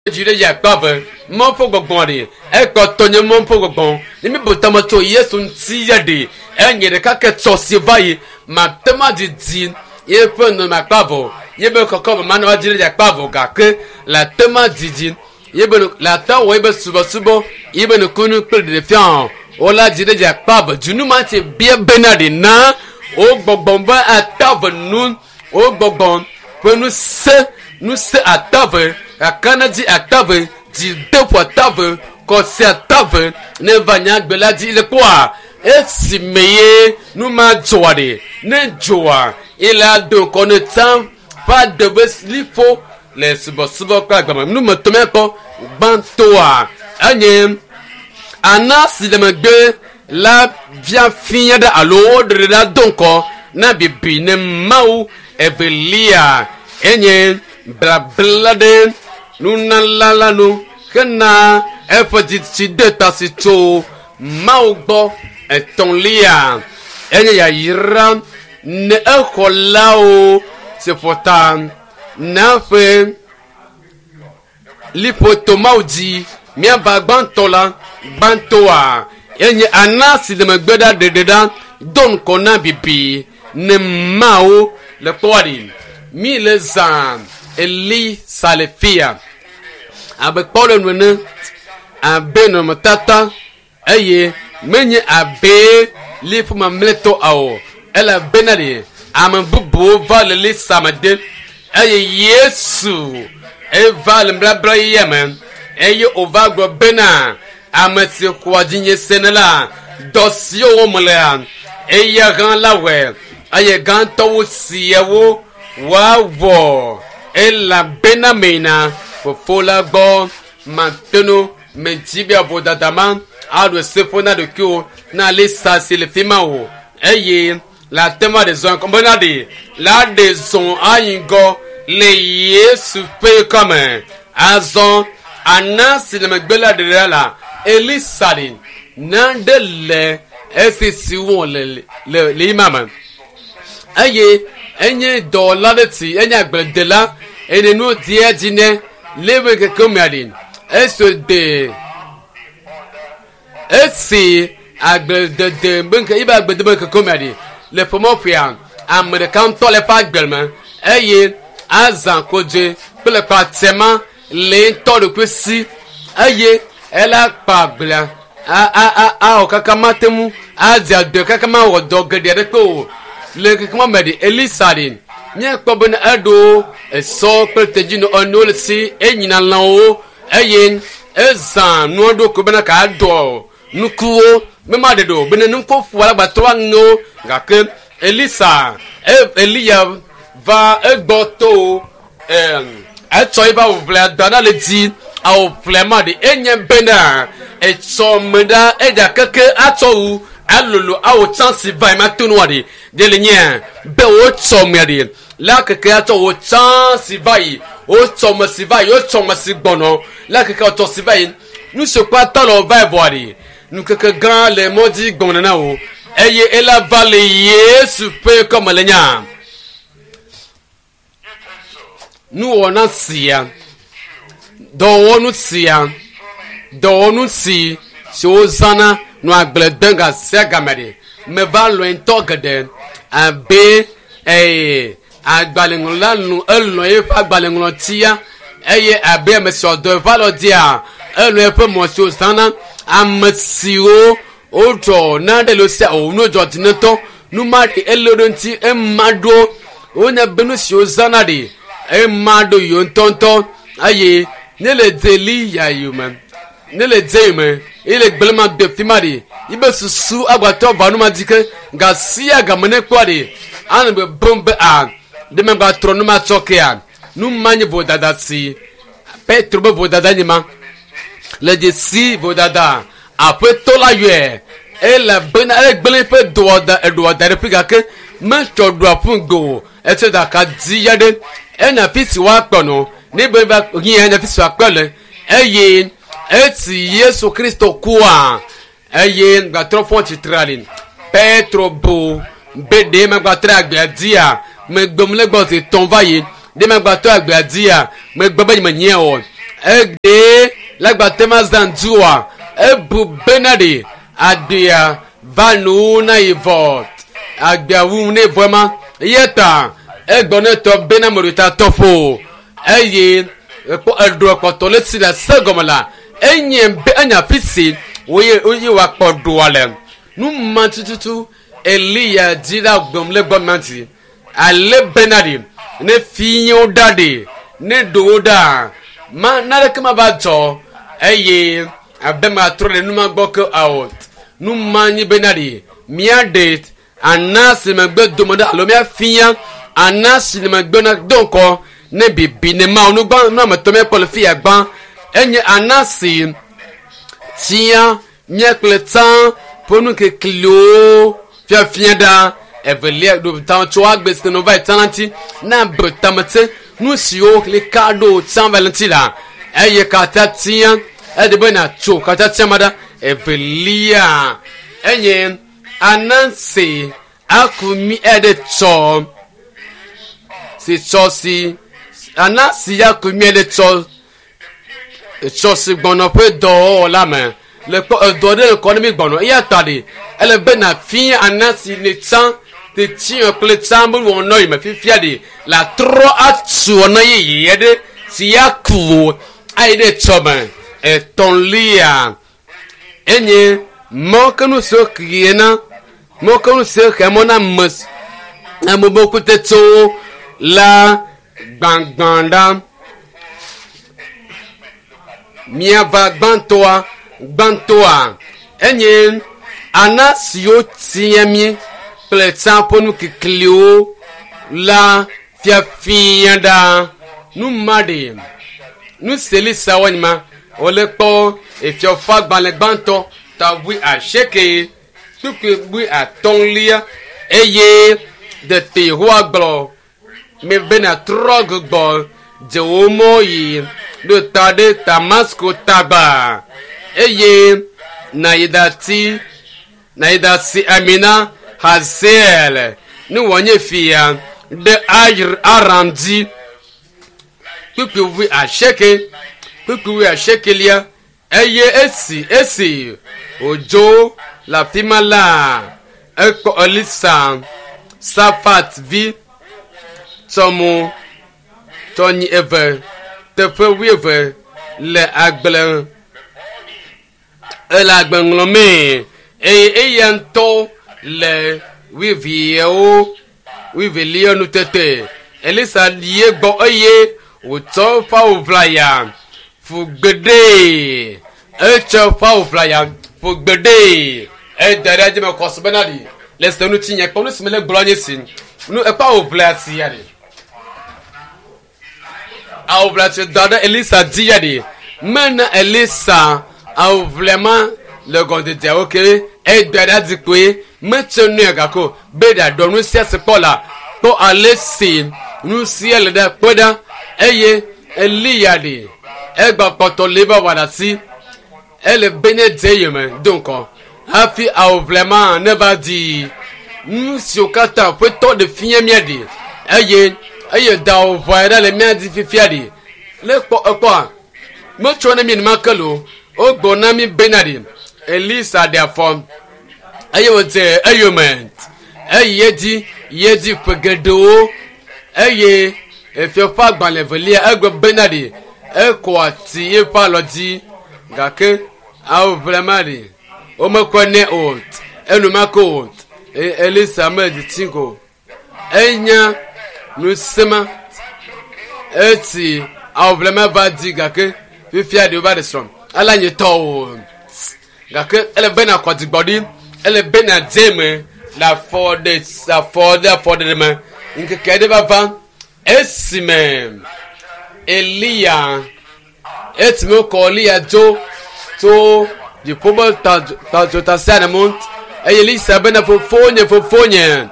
Dzi ɖe dzi akpa ve Mawu ƒe gbɔgbɔ ɖe ekpɔtɔ nye Mawu ƒe gbɔgbɔ ne mi bu tame tso Yesu ŋuti ya ɖe enye ɖeka ke tsɔ si va yi mate ŋu adidi yeƒe nɔnɔme akpa vɔ yebe kɔkɔme manɔ edzi ɖe dzi akpa vɔ gake le ate ŋu adidi yebe le ate ŋu awɔ yebe subɔsubɔ yebe nukunu kple ɖeɖefia wola dzi ɖe dzi akpa vɔ dzinu ma ti bia bena ɖe na wo gbɔgbɔ be ata ve nu wo gbɔgbɔ ƒe ŋusẽ ŋusẽ atave kakanedzi atave dzideƒo atave kɔsi atave ne va nyagbe la dzi le kpɔa esime ye nu ma dzɔa ɖe ne dzɔa ye la do ŋkɔ ne tsã ƒe aɖe be liƒo le subɔsubɔ kple agbame numetɔ míakpɔ gbãtɔa enye ana si le megbe la via fia ɖe alo woɖe ɖa do ŋkɔ na bibi ne Mawu. Evelia enye blabla ɖe nunala la nu hena eƒe dzitsi de ta si tso Mawu gbɔ. Etɔ̃lia enye yayra ne exɔlawo si ƒo ta na ƒe liƒo to Mawu dzi. Míava gbãtɔ la gbãtɔa enye ana si le megbe ɖa ɖeɖe ɖa do ŋkɔ na bibi ne Mawu le kpɔa ɖi mi le zã Elisa le fia abe kpɔɖeŋu ene abe nɔnɔmetata eye menye abe liƒo mamlɛtɔ o elabena ɖe ame bubuwo va le Elisa me de eye Yesu eva le nubabla yeyea me eye wòva gblɔ bena ame si xɔa dzinye sena la dɔ siwo wɔm lea eya hã la wɔe eye gãtɔwo siawo woawɔ elabena meyina fofo la gbɔ matenu medzi be avodada ma aɖo seƒo na ɖokuiwo na Elisa si le fi ma o eye le ate ŋu aɖe zɔn bena ɖe la ɖe zɔn ayi ŋgɔ le Yesu ƒe kɔme azɔ ana si le megbe la ɖe ɖa la Elisa ɖe naɖe le esi si wɔ le le le ima me eye enye dɔwɔla ɖe ti enye agbledela eye nu dia dzi ne le ƒe keke mea ɖe esi de esi agbledede be ŋke yibe agbledede be keke mea ɖe le ƒomɔƒea ame ɖeka ŋutɔ le eƒe agble me eye azã kodzoe kple kpatsema le ŋutɔ ɖokui si eye ela kpa agblea awɔ kaka mate ŋu adze adɔ kaka mawɔ dɔ geɖe aɖeke o le keke ma me ɖe Elisa ɖe míakpɔ bena eɖo esɔ kple tedzinɔ enuwo le si enyina lãwo eye ezã nua ɖo ko bena ka dɔ nukuwo be ma ɖe ɖo bena nuku ƒo alagbatɔ aŋewo gake Elisa Eliya va egbɔ to etsɔ eƒe awuƒlea da ɖa le dzi awuƒlea ma ɖe enye bena etsɔ me ɖa edza keke atsɔ wu alolo awo tsã si va yi ma to nua ɖe ɖe le nye be wotsɔ mea ɖe la keke atsɔ wo tsã si va yi wotsɔ me si va yi wotsɔ me si gbɔnɔ la keke wotsɔ si va yi nu si kpata le va yi vɔa ɖe nukeke gã le mɔ dzi gbɔna na wo eye ela va le Yesu ƒe kɔme le nya nuwɔna sia dɔwɔnu sia dɔwɔnu si si wozãna nɔ agble dem gasia game ɖe meva lɔe ŋutɔ geɖe abe ee agbalẽŋlɔla nu elɔ̃ eƒe agbalẽŋlɔtia eye abe ame si ɔdɔ eƒe alɔ dia elɔ̃ eƒe mɔ si wozãna ame siwo wodzɔ naɖe le sia o nu dzɔ dzi ŋutɔ nu ma ɖe ele ɖo ŋuti ema ɖo wonye be nu si wozãna ɖe ema ɖo yiwo ŋutɔŋutɔ eye ne le dze Eliya yome ne le dze yome eye le gblẽ ma de fi ma ɖe yibe susu agbatɔ va nu ma dzi ke gasia game ne kpɔa ɖe anɔ be bom be a ɖe megba trɔ nu ma tsɔ kea nu ma nye vodada si Petro be vodada nye ma le dzesi vodada aƒetɔ la yɔe elabena egblẽ eƒe doa da eɖoa da ɖe ƒe gake metsɔ ɖoa ƒu gbe o etsɔ daka dzi ya ɖe enya fi si woakpɔ nɔ ne be va hiã enya fi si woakpɔ le eye esi Yesu Kristo kua eye gbatrɔ fɔ tsitre ali Petro bu be ɖe megbatrɔ agbea dzia megbem le gbɔ zi tɔn va yi ɖe megbatrɔ agbea dzia megbe be menye o. Egbe lagbate ma zã dua ebu bena ɖe agbea va nu na yi vɔ agbea wu ne vɔ ma eya ta egbɔ ne tɔ bena me ɖo ta tɔƒo eye ekpɔ eɖo kpɔtɔ le si le se gɔme la enye be enya afi si woye woye wòakpɔ ɖoa le nu ma tututu Eliya dzi la gbɔm le gbɔ ma dzi ale bena ɖe ne fiyewo ɖa ɖe ne ɖowo ɖa ma naneke ma va dzɔ eye abe ma trɔ ɖe nu ma gbɔ ke ao nu ma nyi bena ɖe míaɖe ana si megbe dome ɖe alo míafia ana si megbe na do ŋkɔ ne bibi ne ma nu gbã nu ame tɔ míakpɔ le fia gbã enye ana si tia mía kple tsã ƒe nu kekliwo fiafia ɖa evelia ɖo ta tso agbe si nɔ va yi tsã la ŋuti na be tametse nu siwo li ka ɖo tsã va le ŋuti la eye katã tia eɖe be natso katã tia ma ɖa evelia enye anansi akumi eɖe tsɔ si tsɔ si anansi akumi eɖe tsɔ tsɔ si gbɔnɔ ƒe dɔwɔwɔ la me le kpɔ edɔ ɖe le kɔ ne mi gbɔnɔ eya ta ɖi ele be na fia anasi ne tsã te tsiɔ kple tsã be wɔnɔ yi me fifia ɖi la trɔ atu wɔnɔ yeye ɖe si ya ku ayi ɖe tsɔ me etɔ̃lia enye mɔkenu siwo kie na mɔkenu siwo xe mɔ na ame ame be kutetsewo la gbãgbã ɖa miava gbãtɔa gbãtɔa enye ana siwo tia mi kple tsã ƒe nu kekliwo la fiafia ɖa nu ma ɖe nu seli sa wɔnyima wòle kpɔ efiɔfa gbalẽ gbãtɔ ta wui asieke kpukpui wui atɔ̃lia eye tete Yehowa gblɔ mi bena trɔ gbugbɔ dze wò mɔ yi ɖo ta ɖe Damasko tagba eye nàyi ɖati nàyi ɖasi ami na Hazael ne wòanye fia ɖe Aram dzi. Kpukpui wui asieke kpukpui wui asiekelia eye esi esi wòdzo le afi ma la ekpɔ Elisa Safat vi tsɔmo tsɔnyi eve teƒe wuieve le agble ele agbe ŋlɔmee eye eya ŋutɔ le wuieveawo wuievelia nu tete Elisa yi egbɔ eye wòtsɔ eƒe awu ʋlaya ƒu gbe ɖee etsɔ eƒe awu ʋlaya ƒu gbe ɖee eda ɖe edzi me kɔ bena ɖi le se ŋuti nye kpɔ nu si mele gblɔ nye si nu eƒe awu ʋlaya si ya ɖi awu ʋlaya si da ɖe Elisa dzi ya ɖi mena Elisa awu ʋlaya ma le gɔdediawo ke eda ɖe edzi kpoe metse nua gako be ɖaɖɔ nu sia si kpɔ la kpɔ ale si nu sia le ɖe kpɔ ɖa eye Eliya ɖi egba kpɔtɔ le ebe wɔna si ele be ne dze yome do ŋkɔ hafi awu ʋlaya ma ne va di nu siwo katã ƒetɔ ɖe fia mía ɖi eye eye da awu ʋlaya ɖe le mía dzi fifia ɖi le kpɔ ekpɔa metsɔ ne mi enumake lo wogblɔ na mi bena ɖi Elisa ɖe afɔ eye wòdze eyome eye edzi yi edzi ƒe geɖewo eye efiaƒe agbalẽ evelia egblɔ bena ɖi ekɔ ati eƒe alɔ dzi gake awu ʋlaya ma ɖi womekɔe nɛ o enumake o Elisa medzi tsi ko enya nusema esi awu ʋlaya ma va di gake fifia ɖe wova ɖe srɔ̃ ele nye tɔ o gake ele bena kɔ dzigbɔɖi ele bena dze me le afɔ ɖe afɔ ɖe afɔ ɖe me ŋkeke aɖe va va esime Eliya esime wokɔ Eliya dzo tso dziƒo be tadzotasiaɖam eye Elisa bena fofonye fofonye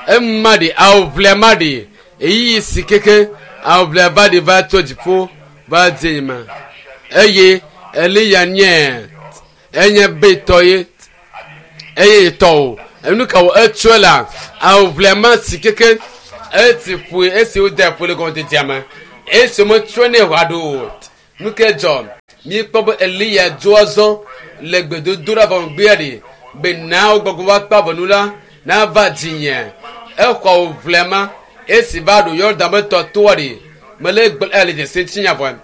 ema ɖi awu ʋlaya ma ɖi eyiyi si keke awu ʋlaya va ɖi va tso dziƒo va dze me eye Eliya nye enye betɔ ye eye tɔ o enu ka wò etsɔe la awu ʋlaya ma si keke esi ƒoe esi wode ƒoe le gɔmedzedzea me esi wometsɔe nɛ ʋa ɖo o Nu ke dzɔ? Míekpɔ be Eliya dzo azɔ le gbedodoɖa vɔ megbea ɖi be na wo gbɔgbɔ va kpe avɔnu la nava dzinye. Exɔ awu ʋlema esi va ɖo Yɔdan be tɔ toa ɖi. Mele gblɔ ele dzesi ŋutinya vɔ.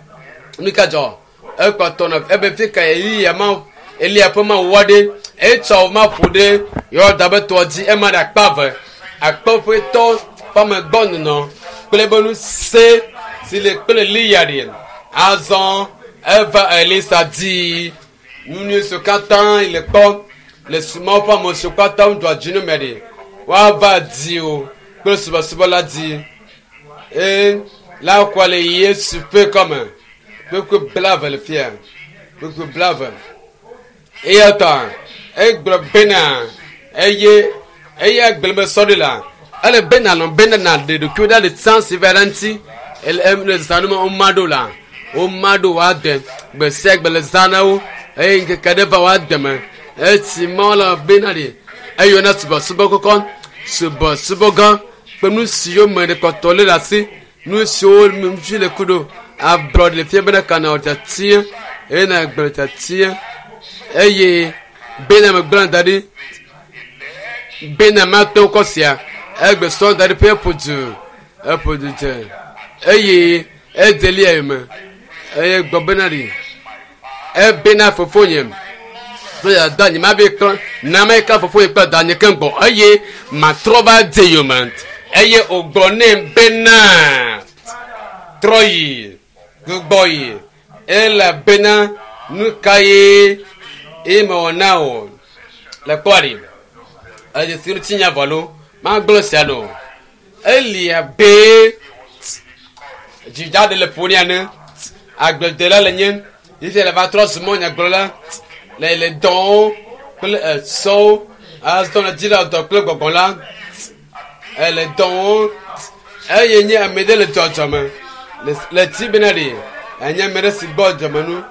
Nu ka dzɔ? Ekpɔtɔ nɔ ebe fi ka Eliya ma Eliya ƒe mawu aɖe etsɔ awu ma ƒo ɖe Yɔdan be tɔa dzi ema ɖe akpa eve. Akpe ƒe tɔ ƒe amegbɔnɔnɔ kple ebe ŋusẽ si le kple Eliya ɖi. Azɔ eva Elisa dzi. Nu nyui siwo katã yi le kpɔ le Mawu ƒe ame siwo katã wodoa dzi ne me ɖi. Woava di o kple subɔsubɔ la di. Eye la kɔ le Yesu ƒe kɔme. Kpekpe blave le fia. Kpekpe blave. Eya ta egblɔ bena eye eya gblɔ be sɔɖi la ele bena lɔn bena na ɖe ɖokuiwo ɖa le tsã si va ɖe ŋuti ele ele zã nu me woma ɖo la woma ɖo woade gbe sia gbe le zã na wo eye ŋkeke ɖe va woade me esi mawo la bena ɖi eyɔna subɔsubɔ kɔkɔ subɔsubɔ gã kple nu siwo me ɖe kpɔtɔ lé ɖe asi nu siwo ŋuti le ku ɖo ablɔɖe le fia bena kana wò tiatia eye na gblẽ tiatia eye bena megblẽ da ɖi bena mate ŋu kɔ sia egbe sɔ da ɖi ƒe eƒo du eƒo du dze eye edze lia yome eye gbɔ bena ɖi ebena fofonye kple dada nye ma be klɔ na me ka fofonye kple dada nye keŋ gbɔ eye matrɔ va dze yome eye wògblɔ nɛ bena trɔ yi gbugbɔ yi elabena nu ka ye eye mewɔ na wò le kpɔa ɖi eye si ŋuti nya vɔ lo magblɔ sia no elia be dzidza ɖe le ƒonia ne agbledela le nye fifia le va trɔ zu mɔ nyagblɔla le le dɔwo kple esɔwo azɔ le dzi le dɔ kple gbɔgbɔ la ele dɔwo eye nye ame ɖe le dzɔdzɔme le le ti bena ɖi enye ame ɖe si gbɔ dzɔme nu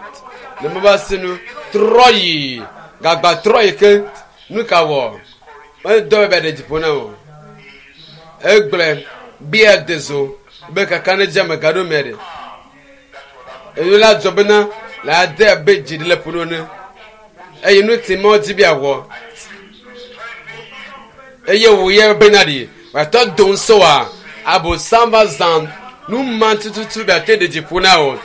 le mo va si nu trɔ yi gagba trɔ yi ke nu ka wɔ edɔ be ɖe dziƒo na o egblẽ bia de zo be kaka ne dze ame gaɖo me ɖe enu la dzɔ bena la ade abe dzi ɖe le ƒo ne eye nu ti mɔ dzi bia wɔ eye wò ye bena ɖi wòatɔ do ŋusẽ wa abosam va zã nu ma tututu be ate ɖe dziƒo na o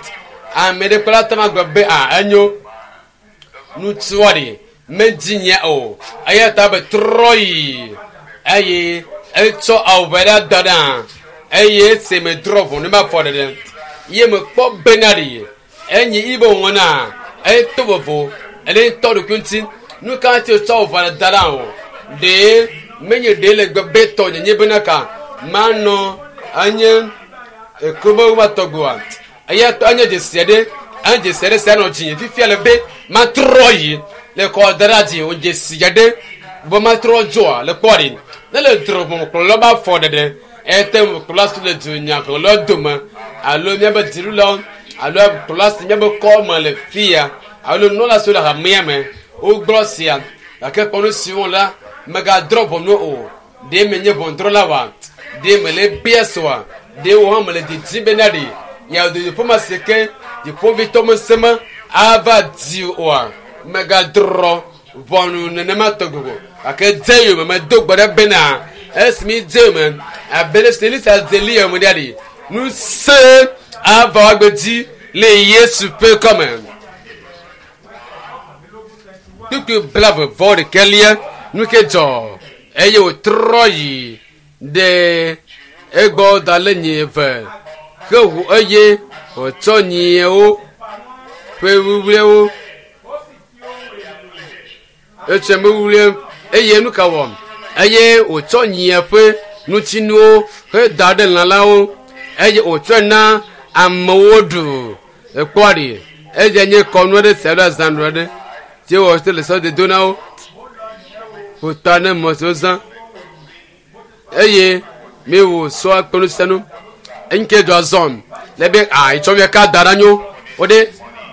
ame ɖe kple ate ma gblɔ be a enyo nutua ɖi medzi nye o eya ta be trɔ yi eye etsɔ awu ʋe ɖe da ɖa eye esi me drɔ ʋɔ ne ma fɔ ɖeɖe ye me kpɔ bena ɖi enyi ibe wɔna eto vovo ele ŋutɔ ɖokui ŋuti nu ka ŋuti wòtsɔ awu ʋe ɖe da ɖa o ɖe menye ɖe le gbe be tɔ nyenye bena ka manɔ enye ekrobe wa tɔgboa eya tɔ enye dzesi aɖe enye dzesi aɖe sia nɔ dzi fifia le be matrɔ yi le kɔ da ɖe dzi o dzesi aɖe be matrɔ dzoa le kpɔ ɖi ne le drɔ kplɔlɔ ba fɔ ɖeɖe ete ŋu kplɔla si le dunyahlɔ dome alo míabe dziɖulawo alo kplɔla si míabe kɔme le fia alo nunɔla siwo le hamea me wogblɔ sia gake kpɔ nu siwo la megadrɔ ʋɔnu o ɖe menye ʋɔnudrɔla wa ɖe mele bia soa ɖe wo hã mele didim bena ɖe yeado dziƒo ma si ke dziƒovitɔ meseme ava di oa megadrɔ ʋɔnu nenema tɔgbi o gake dze yome medo gbe ɖe bena esi mi dze yome abe ɖe si Elisa dze li yome ɖia ɖi ŋusẽ ava woagbe dzi le Yesu ƒe kɔme. Kpukpui blave vɔ ɖekɛlia nu ke dzɔ eye wòtrɔ yi ɖe egbɔ da le nyi eve ke ʋu eye wòtsɔ nyiawo ƒe wuwluiwo etsɔ wuwlui eye nu ka wɔm eye wòtsɔ nyia ƒe ŋutinuwo heda ɖe lã la wo eye wòtsɔe na amewo ɖu ekpɔ ɖi edze nye kɔnu aɖe sia ɖe azãnu aɖe tí wɔ te le sɔdodo na wo ƒota ne mɔ siwo zã eye mi wò sɔ kpe nu sia nu eŋke do azɔn le be a etsɔ mi ka da ɖa nyo wo ɖe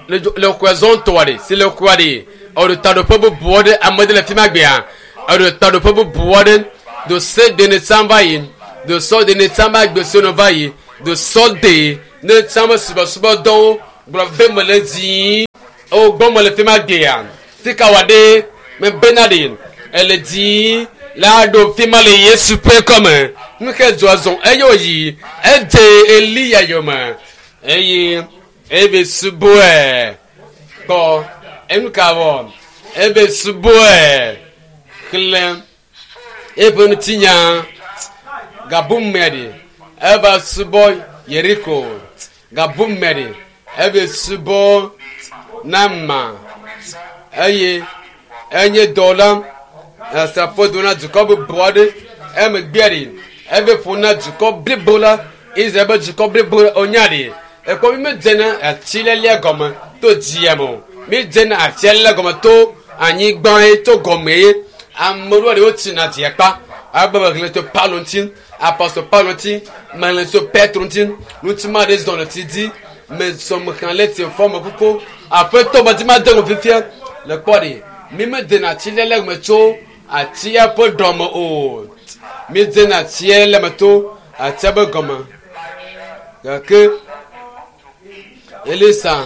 le le xɔa zɔn tɔa ɖe si le xɔa ɖe eɖo taɖoƒe bubu aɖe ame ɖe le fi ma gbea eɖo taɖoƒe bubu aɖe do se de ne tsã va yi do sɔ de ne tsã va gbe so ne va yi do sɔ de ne tsã be subɔsubɔdɔwo Gblɔ be mele dzi o gbɔ mele fi ma gbea fika wɔ ɖe mebena ɖe ele dzi la ɖo fi ma le Yesu ƒe kɔme. Nuke dzɔ zɔn eye wòyi edze Eliya yome eye ebe subɔe kpɔ enuka wɔ ebe subɔe xlẽ eƒe ŋutinya gabumɛ ɖe eva subɔ Yeriko gabumɛ ɖe ebe subɔ Nama eye enye dɔwɔla asrafo do na dukɔ bubu aɖe emegbea ɖe eve ƒo na dukɔ blibo la Israel be dukɔ blibo la wonya ɖe ekpɔ mi medzena atilelia gɔme to dzia me o mi dzena atilelia gɔme to anyigba ye to gɔme ye ame ɖewo ɖe wotsina dzia kpa abe mexlẽ tso Paulo ŋuti apostol Paulo ŋuti mexlẽ tso Petro ŋuti ŋuti ma ɖe zɔ le tsi dzi mezɔ mexlẽ le tsi fɔ me kuku aƒetɔ me dzi ma de ŋu fifia le kpɔ ɖe mi medzena atilelia gɔme tso atia ƒe ɖɔme o mi dzena atia le me to atia be gɔme gake Elisa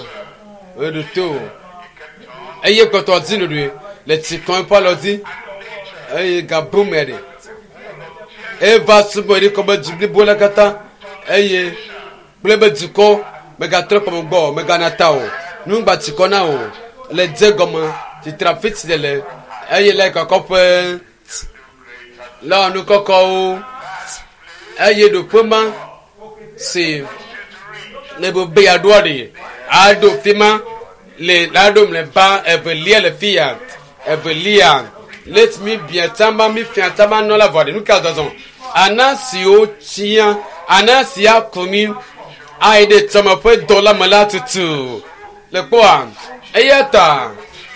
eɖo to eye kpɔtɔ dzi ɖoɖoe le tsi kɔm eƒe alɔ dzi eye gabume ɖe eva subɔ Yeriko be du blibo la katã eye kple be dukɔ megatrɔ kpɔme gbɔ o megana ta o nugba tsi kɔ na o le dze gɔme tsitre afi tsi le eye le kɔkɔƒe le nu kɔkɔwo eye ɖoƒe ma si ne be be yeaɖoa ɖe aɖo fi ma le la ɖo mlɔeba evelia le fi ya evelia let mi bia tsama mi fia tsama nɔ la vɔ ɖe nu ka zɔzɔ ana siwo tsia ana sia ku mi ayi ɖe tsɔme ƒe dɔ la me la tutu le kpɔa eya ta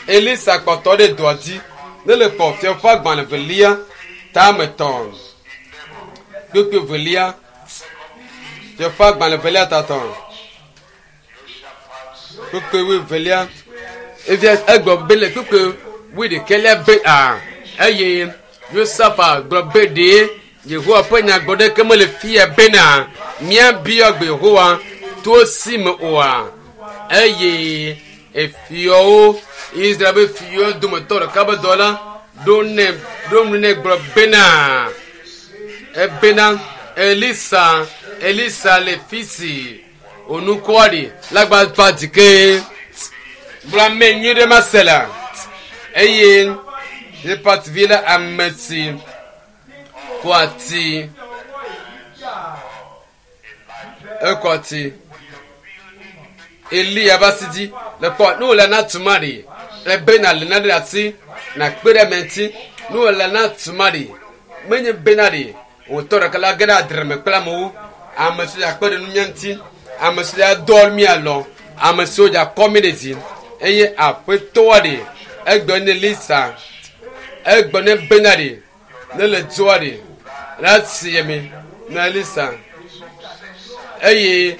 Elisa kpɔtɔ ɖe dɔa dzi ne le kpɔ fiaƒe agbalẽ velia tame tɔn kpekpe velia fiaƒe agbalẽ velia tatɔn kpekpe wui velia evia egblɔ be le kpekpe wui ɖekɛlia be a eye Yosafa gblɔ be ɖe Yehowa ƒe nyagbɔɖeke mele fia bena míabiɔ gbe Yehowa to si me oa eye efiɔwo Israel be fiɔ dometɔ ɖeka be dɔla ɖo nɛ ɖo nu nɛ gblɔ bena ebena Elisa Elisa le fi si onukɔa ɖi lagba va dzi ke gblɔ ame nyui ɖe ma se la eye Zephat vi la ame si kɔ ati ekɔ ati Eliya va si dzi le kpɔ ne wòle na tuma ɖi ebena le na ɖe asi na kpe ɖe ame ŋuti ne wòle na tuma ɖi menye bena ɖi wòtɔ ɖeka la ge ɖe adre me kple amewo ame siwo akpe ɖe nunya ŋuti ame siwo adɔ mi alɔ ame siwo dza kɔ mi ɖe dzi eye aƒetɔa ɖi egbe ne Elisa egbe ne bena ɖi ne le dzoa ɖi la si mi na Elisa eye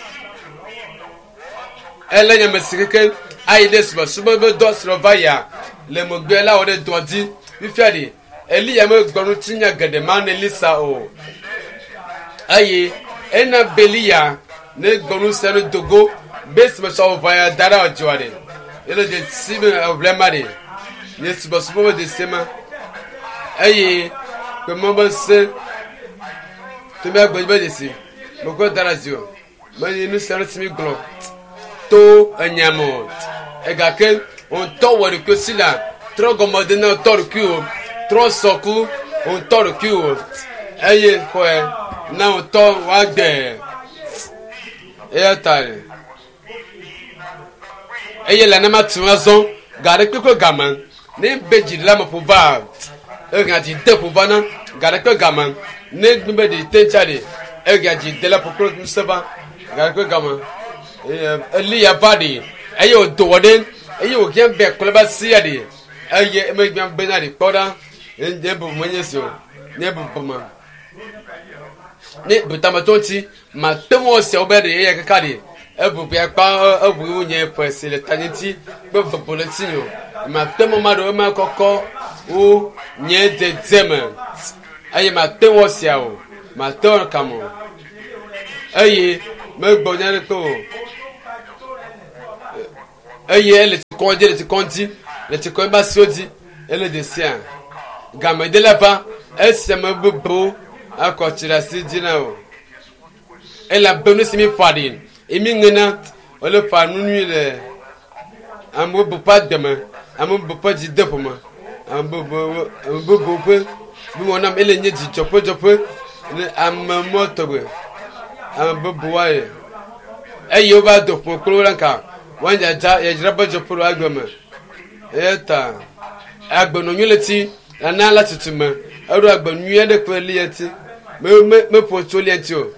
ele nye ame si keke ayi ɖe subɔsubɔ be dɔ srɔ̃ va yia le megbe la wɔ ɖe dɔa dzi fifia ɖi Eliya megblɔ ŋutinya geɖe ma ne Elisa o eye ena be Eliya ne gblɔ nu sia nu dogo be subɔsubɔ ʋã ya da ɖe adzɔa ɖe ele dze si be eʋlɛ ma ɖe nye subɔsubɔ be dzesi ma eye kpemɔ be se to mía gbe be dzesi mekɔ da ɖe adzi o menye nu sia nu si mi gblɔ to enya me o egake ŋutɔ wɔ ɖokui si la trɔ gɔme de na ŋutɔ ɖokui o trɔ sɔku ŋutɔ ɖokui o eye xɔe na ŋutɔ woagbe eya ta eye le nema tu azɔ ga ɖe kpekpe game ne be dzi ɖe ame ƒo va ehea dzi de ƒo va na ga ɖe kpe game ne gbe be ɖi te tsa ɖi ehea dzi de la ƒo kple ŋusẽ va ga ɖe kpe game eye Eliya va ɖi eye wòdo wɔ ɖe eye wòhiã be kple ba sia ɖi eye emegbe bena ɖi kpɔ ɖa nye bubu menye si o nye bubu ma ne butametɔ ŋuti mate ŋu ɔsiawo be ɖe eya kaka ɖi ebubu ya kpa eʋu nye ƒe si le tanye ŋuti kple bubu le ŋuti o mate ŋu ma ɖo ema kɔkɔ wu nye dzedzeme eye mate ŋu ɔsia o mate ŋu kam o eye megbɔ nya ɖeke o. Eye ele tsi kɔm dzi, le tsi kɔm dzi, le tsi kɔm ebe asiwo dzi. Ele dzesia. Game de la va esi ame bubuwo akɔ tsi ɖe asi dzi na wò. Elabe nu si mi ƒa ɖi ye mi ŋena wole ƒa nu nyui le ame bubu ƒe agbe me, ame bubu ƒe dzideƒo me, ame bubu ame bubu ƒe nuwɔna me. Ele nye dzidzɔƒedzɔƒe ne ame mɔ tɔgbe ame bubu woaye eye wova do ƒome kple wo la ŋka woadzadza yadzra ƒe dzɔƒe le agbe me. Eya ta agbenɔ nyui le ti nana la tutu me eɖo agbe nyui aɖe kple lia ti me me meƒo tso lia ŋuti o.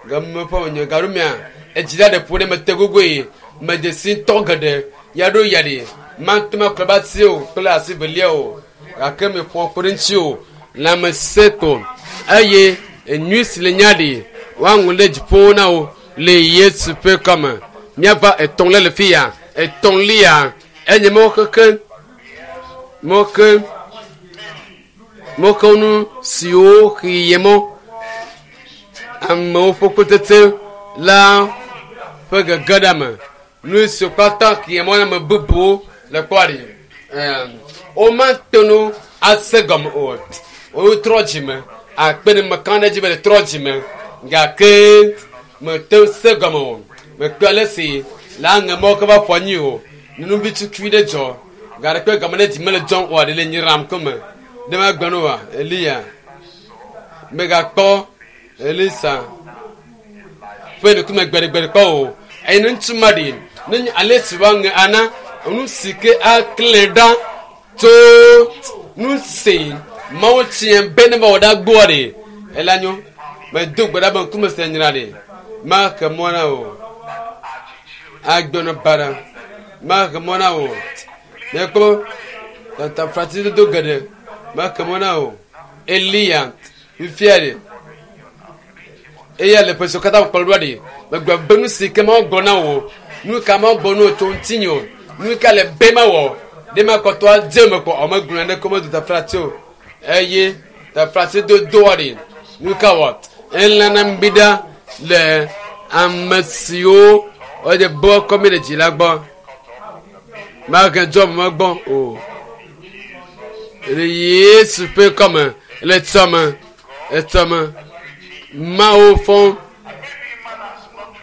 Game ƒe wònye gaɖomea edzi la ɖe ƒo ɖe mete gogoe mede si ŋutɔ geɖe ya ɖo ya ɖi mate ŋu akplɔ be asi o kple asi velia o gake meƒo kpe ɖe ŋuti o lãmesẽ ko eye enyui si le nya ɖi woaŋlɔ ɖe dziƒo na wo le Yesu ƒe kɔme. Míava etɔ̃lia le fi ya. Etɔ̃lia enye mɔxexe mɔxe mɔxenu siwo xeye mɔ amewo ƒe kutete la ƒe gege ɖe ame. Nu siwo katã xeye mɔ na ame bubuwo le kpɔ ɖi. Womate ŋu ase gɔme o. Wotrɔ dzime akpe ɖe meka ɖe edzi be le trɔ dzime gake mete ŋu se gɔme o. Mekpɔ ale si le aŋe mɔ ke va ƒo anyi o. Nyɔnuvi tukui ɖe dzɔ gaɖe kpe game ɖe dzi mele dzɔm oa ɖe le nyram ko me. Ɖe magblɔ ne oa? Eliya. Megakpɔ Elisa ƒe ŋkume gbeɖegbeɖe kpɔ o. Eye ne ŋutsu ma ɖi ne nye ale si woaŋe ana nu si ke aklẽ ɖa tso nu si Mawu tia be ne va wɔ ɖa gbɔa ɖe ela nyo. Medo gbe ɖa be ŋkume se nyra ɖe maxe mɔ na o. Agbenɔ baɖa maxe mɔ na o. Míekpɔ tataflatidodo geɖe maxe mɔ na o. Eliya fifia ɖe eya le ƒe siwo katã kplɔ ɖoa ɖi megblɔ be nu si ke Mawu gblɔ na wò nu ka Mawu gblɔ na wò tso ŋutinye o nu ka le be mawɔ ɖe makɔtɔ adze eme kpɔ ɔ megblɔ ne ko medo taflatse o eye taflatse dodoa ɖi nu ka wɔ elana mbi ɖa le ame siwo wode bɔ kɔmi ɖe dzi la gbɔ mahe dzɔ me gbɔ o le Yesu ƒe kɔme le tsɔme etsɔme Mawu fɔ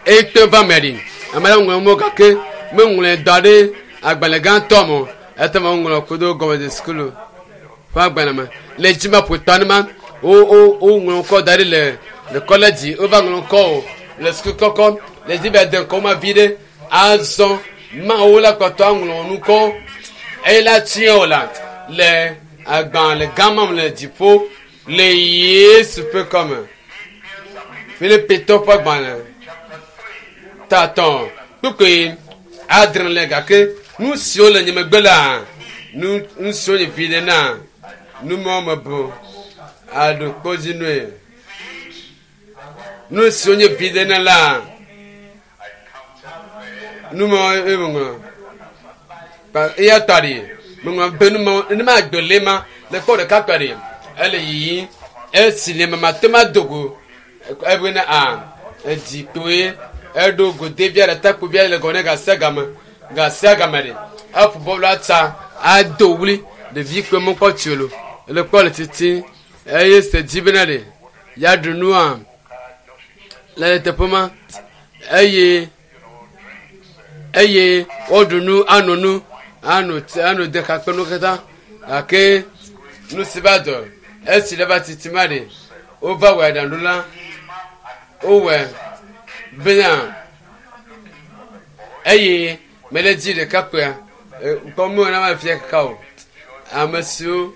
ekpe va me ɖi ame aɖe ŋlɔ mɔ gake meŋlɔe da ɖe agbalẽ gãtɔ me o ete me ŋlɔ kudo gɔmedze sukulu ƒe agbalẽ me le dzi ma ƒotɔ ne ma wo wo woŋlɔ ŋkɔ da ɖi le le kɔledzi wova ŋlɔ ŋkɔ o le suku kɔkɔ le dzi be de ŋkɔ ma vi ɖe azɔ Mawu la kpɔtɔ aŋlɔ ŋkɔ eye la tia o la le agbalẽ gã ma me le dziƒo le Yesu ƒe kɔme. Filipitɔ ƒe agbalẽ tatɔ kpukpui adre le gake nu siwo le nye megbe la nu nu siwo nye vi ɖe na nu mawo me bu aɖo kpɔdzinue. Nu siwo nye vi ɖe na la nu mawo ye meŋlɔ. Eya ta ɖi meŋlɔ be nu mawo ne ma gbe le ma le kpɔ ɖeka kpe ɖi ele yiyim esi le me mate ma do go ebe ne a edzi kpoe eɖo godevia ɖe takpovia le gɔme ne gasia game gasia game ɖi eƒo bɔlu atsa ado wli ɖevi kpe mekpɔ tsi o le kpɔ le titi eye se dzi bena ɖe ya ɖu nua le teƒe ma eye eye woɖu nu ano nu ano tsi ano de kakpe nu katã gake nu si va dɔ esi le va titi ma ɖe wova wɔ aɖaŋu la wowɔe bena eye mele dzi ɖeka kpea kpɔ me na ma fia kaka o ame siwo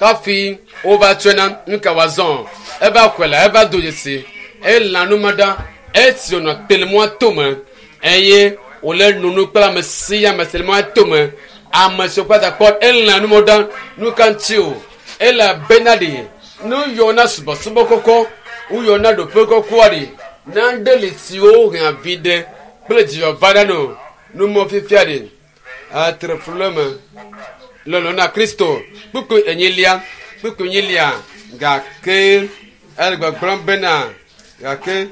hafi wova tsɔe na nu ka wòazɔ eva xɔe la eva do dzesi elã nu ma ɖa esi wònɔ te le mɔa tome eye wòle nunu kple ame sia ame si le mɔa tome ame siwo kpata kpɔ elã nu ma ɖa nu ka ŋuti o elabena ɖi nu yɔ na subɔsubɔ kɔkɔ woyɔ na ɖoƒe kɔkɔa ɖi nane li siwo hea vi ɖe kple dzidzɔ va ɖa no nu mɔ fifia ɖi atre flu le me lɔlɔ na Kristo kpukpui enyilia kpukpui enyilia gake ele gbɔgblɔm bena gake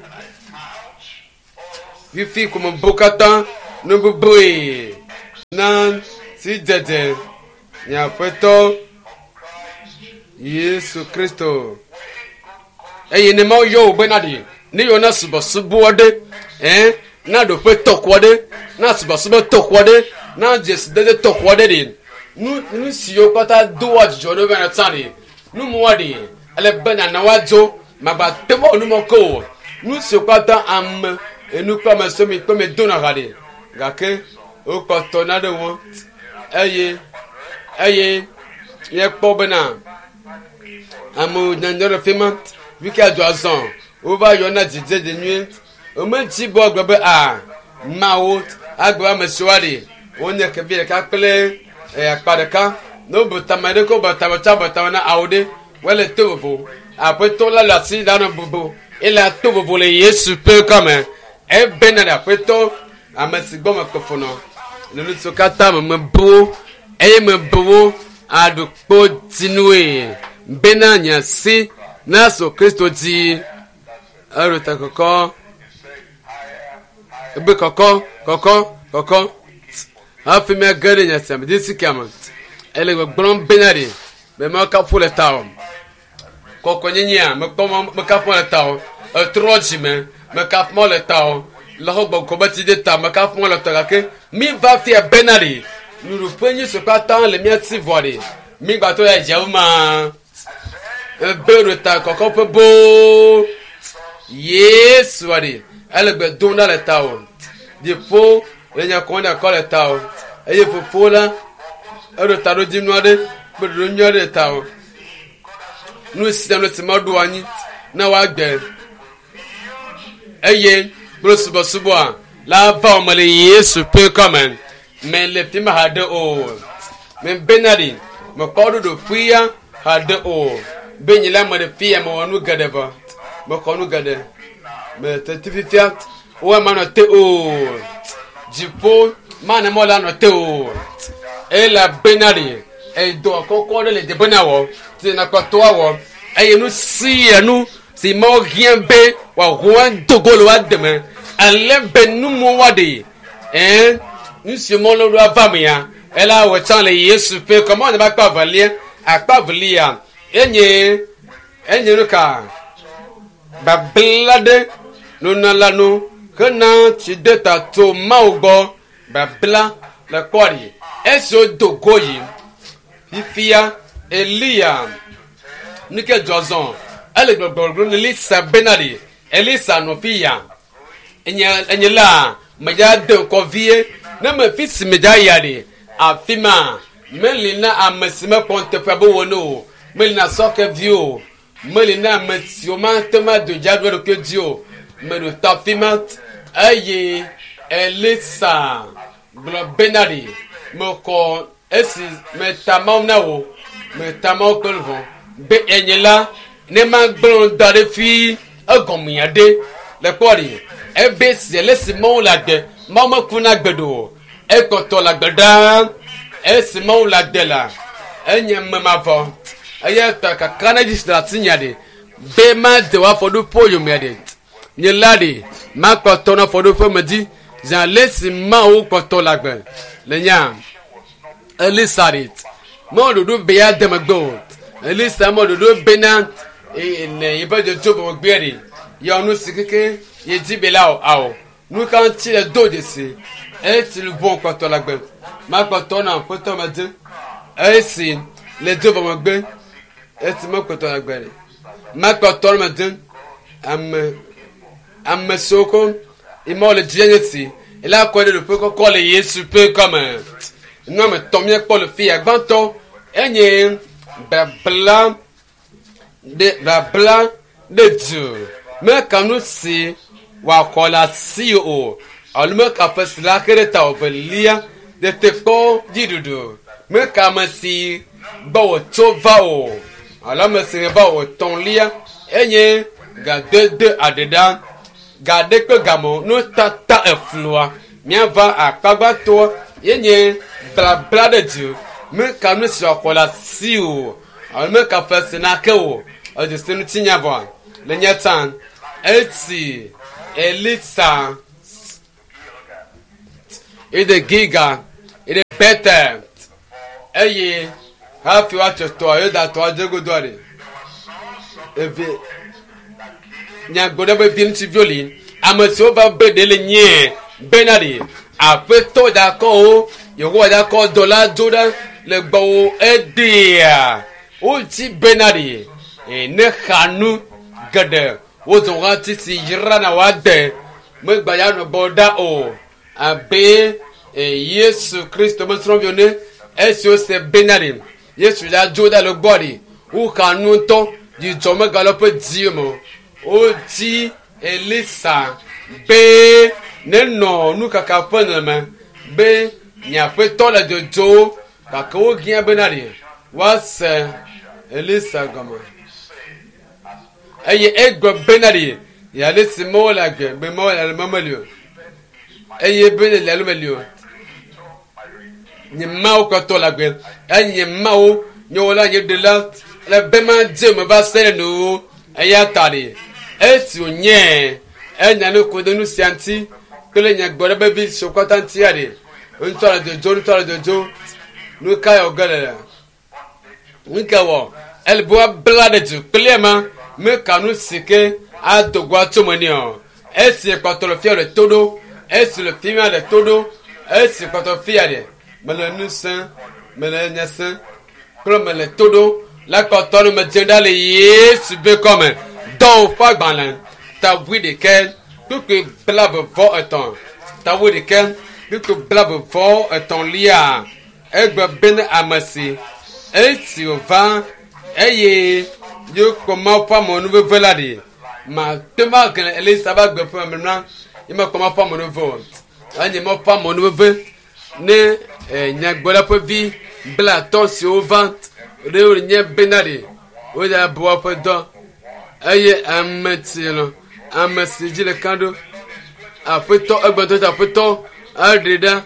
fifi ko mebu katã Nu bubue na si dzedze nye Aƒetɔ Yesu Kristo. Eye ne Mawu yɔ wò bena ɖi, ne yɔ na subɔsubɔ aɖe, ɛ, na ɖoƒe tɔxɔ aɖe, na subɔsubɔ tɔxɔ aɖe, na dzesidede tɔxɔ aɖe ɖi, nu nu siwo katã doa dzidzɔ ne bena tsã ɖi, nu mɔa ɖi, ele be nana woadzo, magba te ŋu awɔ nu mɔ ke o. Nu siwo katã ame enu kple ame siwo mi kple mi dona ha ɖi, gake wokpɔtɔ na ɖe ŋu eye eye míekpɔ bena amewo nyanya ɖe fi ma fi ke adzɔ azɔ wova yɔna dzidzedze nyuie womedzi be woagblɔ be a mawo agbe ame siwo ali wonye kevi ɖeka kple akpa ɖeka ne wobu tame ɖe ko bu tame tsa bu tame na awo ɖe wole to vovo aƒetɔ la le asi la nɔ bubu ele ato vovo le Yesu ƒe kɔme ebena ɖe aƒetɔ ame si gbɔ mekpe fu nɔ le nu siwo katã me mebu wo eye mebu wo aɖukpo dzinue bena nye asi nasu Kristo dzi eɖo ta kɔkɔ ebe kɔkɔ kɔkɔ kɔkɔ hafi míage ɖe nya sia me dzi si ke me ele gbɔgblɔm bena ɖi be mekafu le ta o kɔkɔnyenyea mekpɔ mekafu le ta o etrɔ dzime mekafu le ta o le xɔ gbɔgbɔ be tsi de ta mekafu le ta gake mi va fia bena ɖi nuɖuƒe nyi si katã le mía si vɔ ɖi mi gbatɔ ya dzewo ma ebe ɖo ta kɔkɔ ƒe boo Yesu ɖi ele gbe dom ɖa le ta o dziƒo le nya kɔm ɖe akɔ le ta o eye fofo la eɖo taɖodzinu aɖe kple ɖoɖo nyui aɖe le ta o nu sia nu si meɖo anyi na woagbe eye kple subɔsubɔa la va wo me le Yesu ƒe kɔme me le fi ma haɖe o me bena ɖi mekpɔ ɖoɖo ƒuia haɖe o be nye la me ɖe fia mewɔ nu geɖe vɔ mexɔ nu geɖe me tete fifia wo manɔ te o dziƒo mana mɔ la nɔ te o elabena ɖi edɔ kɔkɔ ɖe le dze bena wɔ si nakpɔtɔ awɔ eye nu sia nu si Mawu hiã be wòaho ado go le woa deme ale be numɔ woaɖe ɛn nu si mɔ le ɖo ava mea ela wɔ tsã le Yesu ƒe kɔmɔ ne be akpa evelia akpa evelia enye enye nu ka babla ɖe nunala nu hena tsi de ta tso Mawu gbɔ babla le kpɔ ɖi esi wodo go yi fifia Eliya nu ke dzɔ zɔ ele gbɔgblɔ ne Elisa bena ɖi Elisa nɔ fi ya enye enye la medza de ŋkɔ vie ne me fi si medza ya ɖi afi ma meli na ame si mekpɔ nuteƒe be wɔ ne o meli na sɔkevi o meli na ame siwo mate ŋu ado dzi aɖu eɖokui dzi o meɖo ta afi ma eye Elisa gblɔ bena ɖi mekɔ esi meta Mawu na wò meta Mawu kple vɔ be enye la ne magblɔ da ɖe fi egɔmea ɖe le kpɔ ɖi ebe si le si Mawu le agbe Mawu mekuna gbe ɖo o ekpɔtɔ le agbe ɖaa esi Mawu le agbe la enye ame mavɔ eya ta kaka ne dzi le asinya ɖi be made wò afɔɖoƒe yomea ɖi nye la ɖi makpɔtɔ na afɔɖoƒe me dzi zã le si Mawu kpɔtɔ le agbe le nya Elisa ɖi mɔ ɖoɖo be ya de megbe o Elisa mɔ ɖoɖo bena ne yiƒe dzodzo vɔ megbea ɖi yɔ nu si keke ye dzi be la o awo nu ka ŋuti le do dzesi esi luʋɔ kpɔtɔ le agbe makpɔtɔ na aƒetɔ me dzi esi le dzo vɔ megbe esi mekpɔtɔ le agbe ɖi makpɔtɔ me dzi ame ame siwo ko imɔ le dzi nye si ela kɔ ɖe ɖoƒe kɔkɔ le Yesu ƒe kɔme nu ame tɔ míekpɔ le fi ya gbãtɔ enye babla ɖe babla ɖe du meka nu si wòaxɔ le asi o alo meka ƒe si la ke ɖe ta o velia tetekpɔ dziɖuɖu meka ame si gbɔ wòtso va o alo ame si va o etɔ̃lia enye gadede aɖeɖa gaɖe kple gamɔ nutata eflua míava akpa gbãtɔ yenye blabla ɖe du meka nu si wòaxɔ le asi o alo meka ƒe si nake o edzesi ŋutinya vɔa le nye tsã esi Elisa Ede Giga, ede Betel eye hafi woatso tɔa Yudatɔa dzegodoa ɖe eve nyagblɔɖi be vi ŋutsuviwo li ame siwo va be ɖe le nyie bena ɖe aƒetɔ da kɔ wo yehowa da kɔ dɔla dzo ɖa le gbɔwò egbea wodzi bena ɖe ne xa nu geɖe wozɔ hati si yrana woade megba ya nɔ gbɔ ɖa o abe Yesu Kristo mesrɔ̃viwo ne esi wose bena ɖe Yesu la dzo ɖa le gbɔ ɖe woxa nu ŋutɔ dzidzɔ megale woƒe dzi me o wodzi Elisa be nenɔ nukaka ƒe nɔnɔme be nye aƒetɔ le dzodzo gake wohiã bena ɖe woase Elisa gɔme eye egblɔ bena ɖe ale si Mawu le agbe be Mawu le ale meli o eye be le alo meli o nye Mawu kɔtɔ le agbe eye nye Mawu nye wɔla nye ɖela le be ma dze me va se ɖe nuwo eya ta ɖe esi wònye enya nu ku ɖe nu sia ŋuti kple nyagblɔɖi be vi siwo katã ŋutia ɖe ŋutɔ le dzodzo ŋutɔ le dzodzo nu ka yɔ ge le nu ka wɔ ele be woabla ɖe du kple ema meka nu si ke ado go atso me nɛ o esi kpɔtɔ le fia le to ɖo esi le fi ma le to ɖo esi kpɔtɔ fia ɖe mele nu sẽ mele nya sẽ kple mele to ɖo la kpɔtɔ nu me dze ɖa le Yesu be kɔme dɔwɔ ƒe agbalẽ tabui ɖekɛ kpukpui 33 tabui ɖekɛ kpukpui 33lia egbe be ne ame si esi wòva eye yekpɔ Mawu ƒe amenuveve la ɖi mate ŋu agblẽ Elisa be agbe ƒe memlã ye mekpɔ Mawu ƒe amenuveve o enye Mawu ƒe amenuveve ne nyagblɔɖila ƒe vi 50 siwo va ɖe wonye bena ɖe wodza bu woƒe dɔ eye ame si lɔ ame si dzi le ka ɖo aƒetɔ egbɔdɔ aƒetɔ aɖe ɖa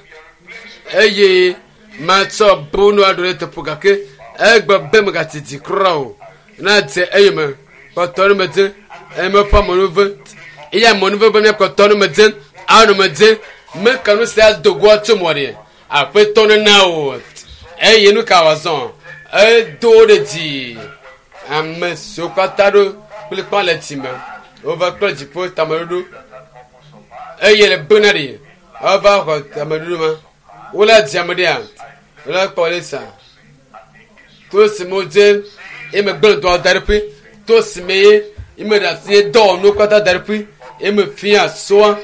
eye matsɔ bu nu aɖo ɖe teƒe gake egbe be megatiti kura o na dze eye me kpɔtɔ nu me dze eye meƒe amenuve eye amenuve be míakpɔtɔ nu me dze anɔ me dze meka nu sia do goa tso mɔ ɖe aƒetɔ nena o eye nu ka wòazɔ edo ɖe dzi ame siwo katã ɖo kplikpa le dzi me wova kple dziƒo tameɖoɖo eye le bena ɖe wova xɔ tameɖoɖo ma wole dzi ame ɖea wole kpɔ Elisa to si me wodze eye megblẽ dɔa da ɖe ƒe to si me ye eme ɖe asi dɔwɔnuwo katã da ɖe ƒe eme fia soa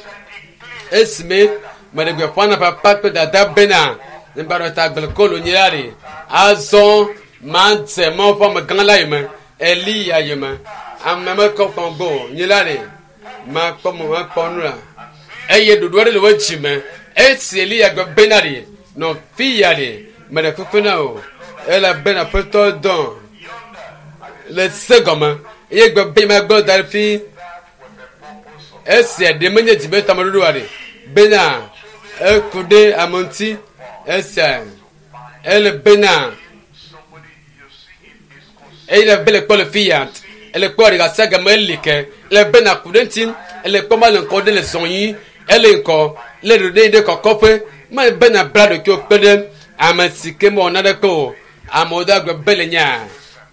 esi me meɖe gbeƒã na papa kple dada bena ŋgbaɖɔ ta agble kolo nye la ɖe azɔ madze Mawu ƒe amegã la yome Eliya yome ame mekɔ kpɔm gbɔ o nye la ɖe makpɔ mo makpɔ nu la eye ɖoɖo aɖe le wo dzi me esi Eliya gbe bena ɖe nɔ fi ya ɖe meɖe kuku na o elabena aƒetɔ dɔ le se gɔme eye gbe be magblɔ da ɖe fi esia ɖe menye dzi be tameɖoɖo ɖe bena eku ɖe ame ŋuti esia ele bena eye le be le kpɔ le fi ya ele kpɔ ɖeka sia game eli ke le bena ku ɖe ŋuti ele kpɔ ma le ŋkɔ ɖe le zɔn yi ele ŋkɔ le ɖo ɖe ɖe kɔkɔƒe ma bena bla ɖokuiwo kpe ɖe ame si ke mewɔ naneke o amewo do agbe be le nya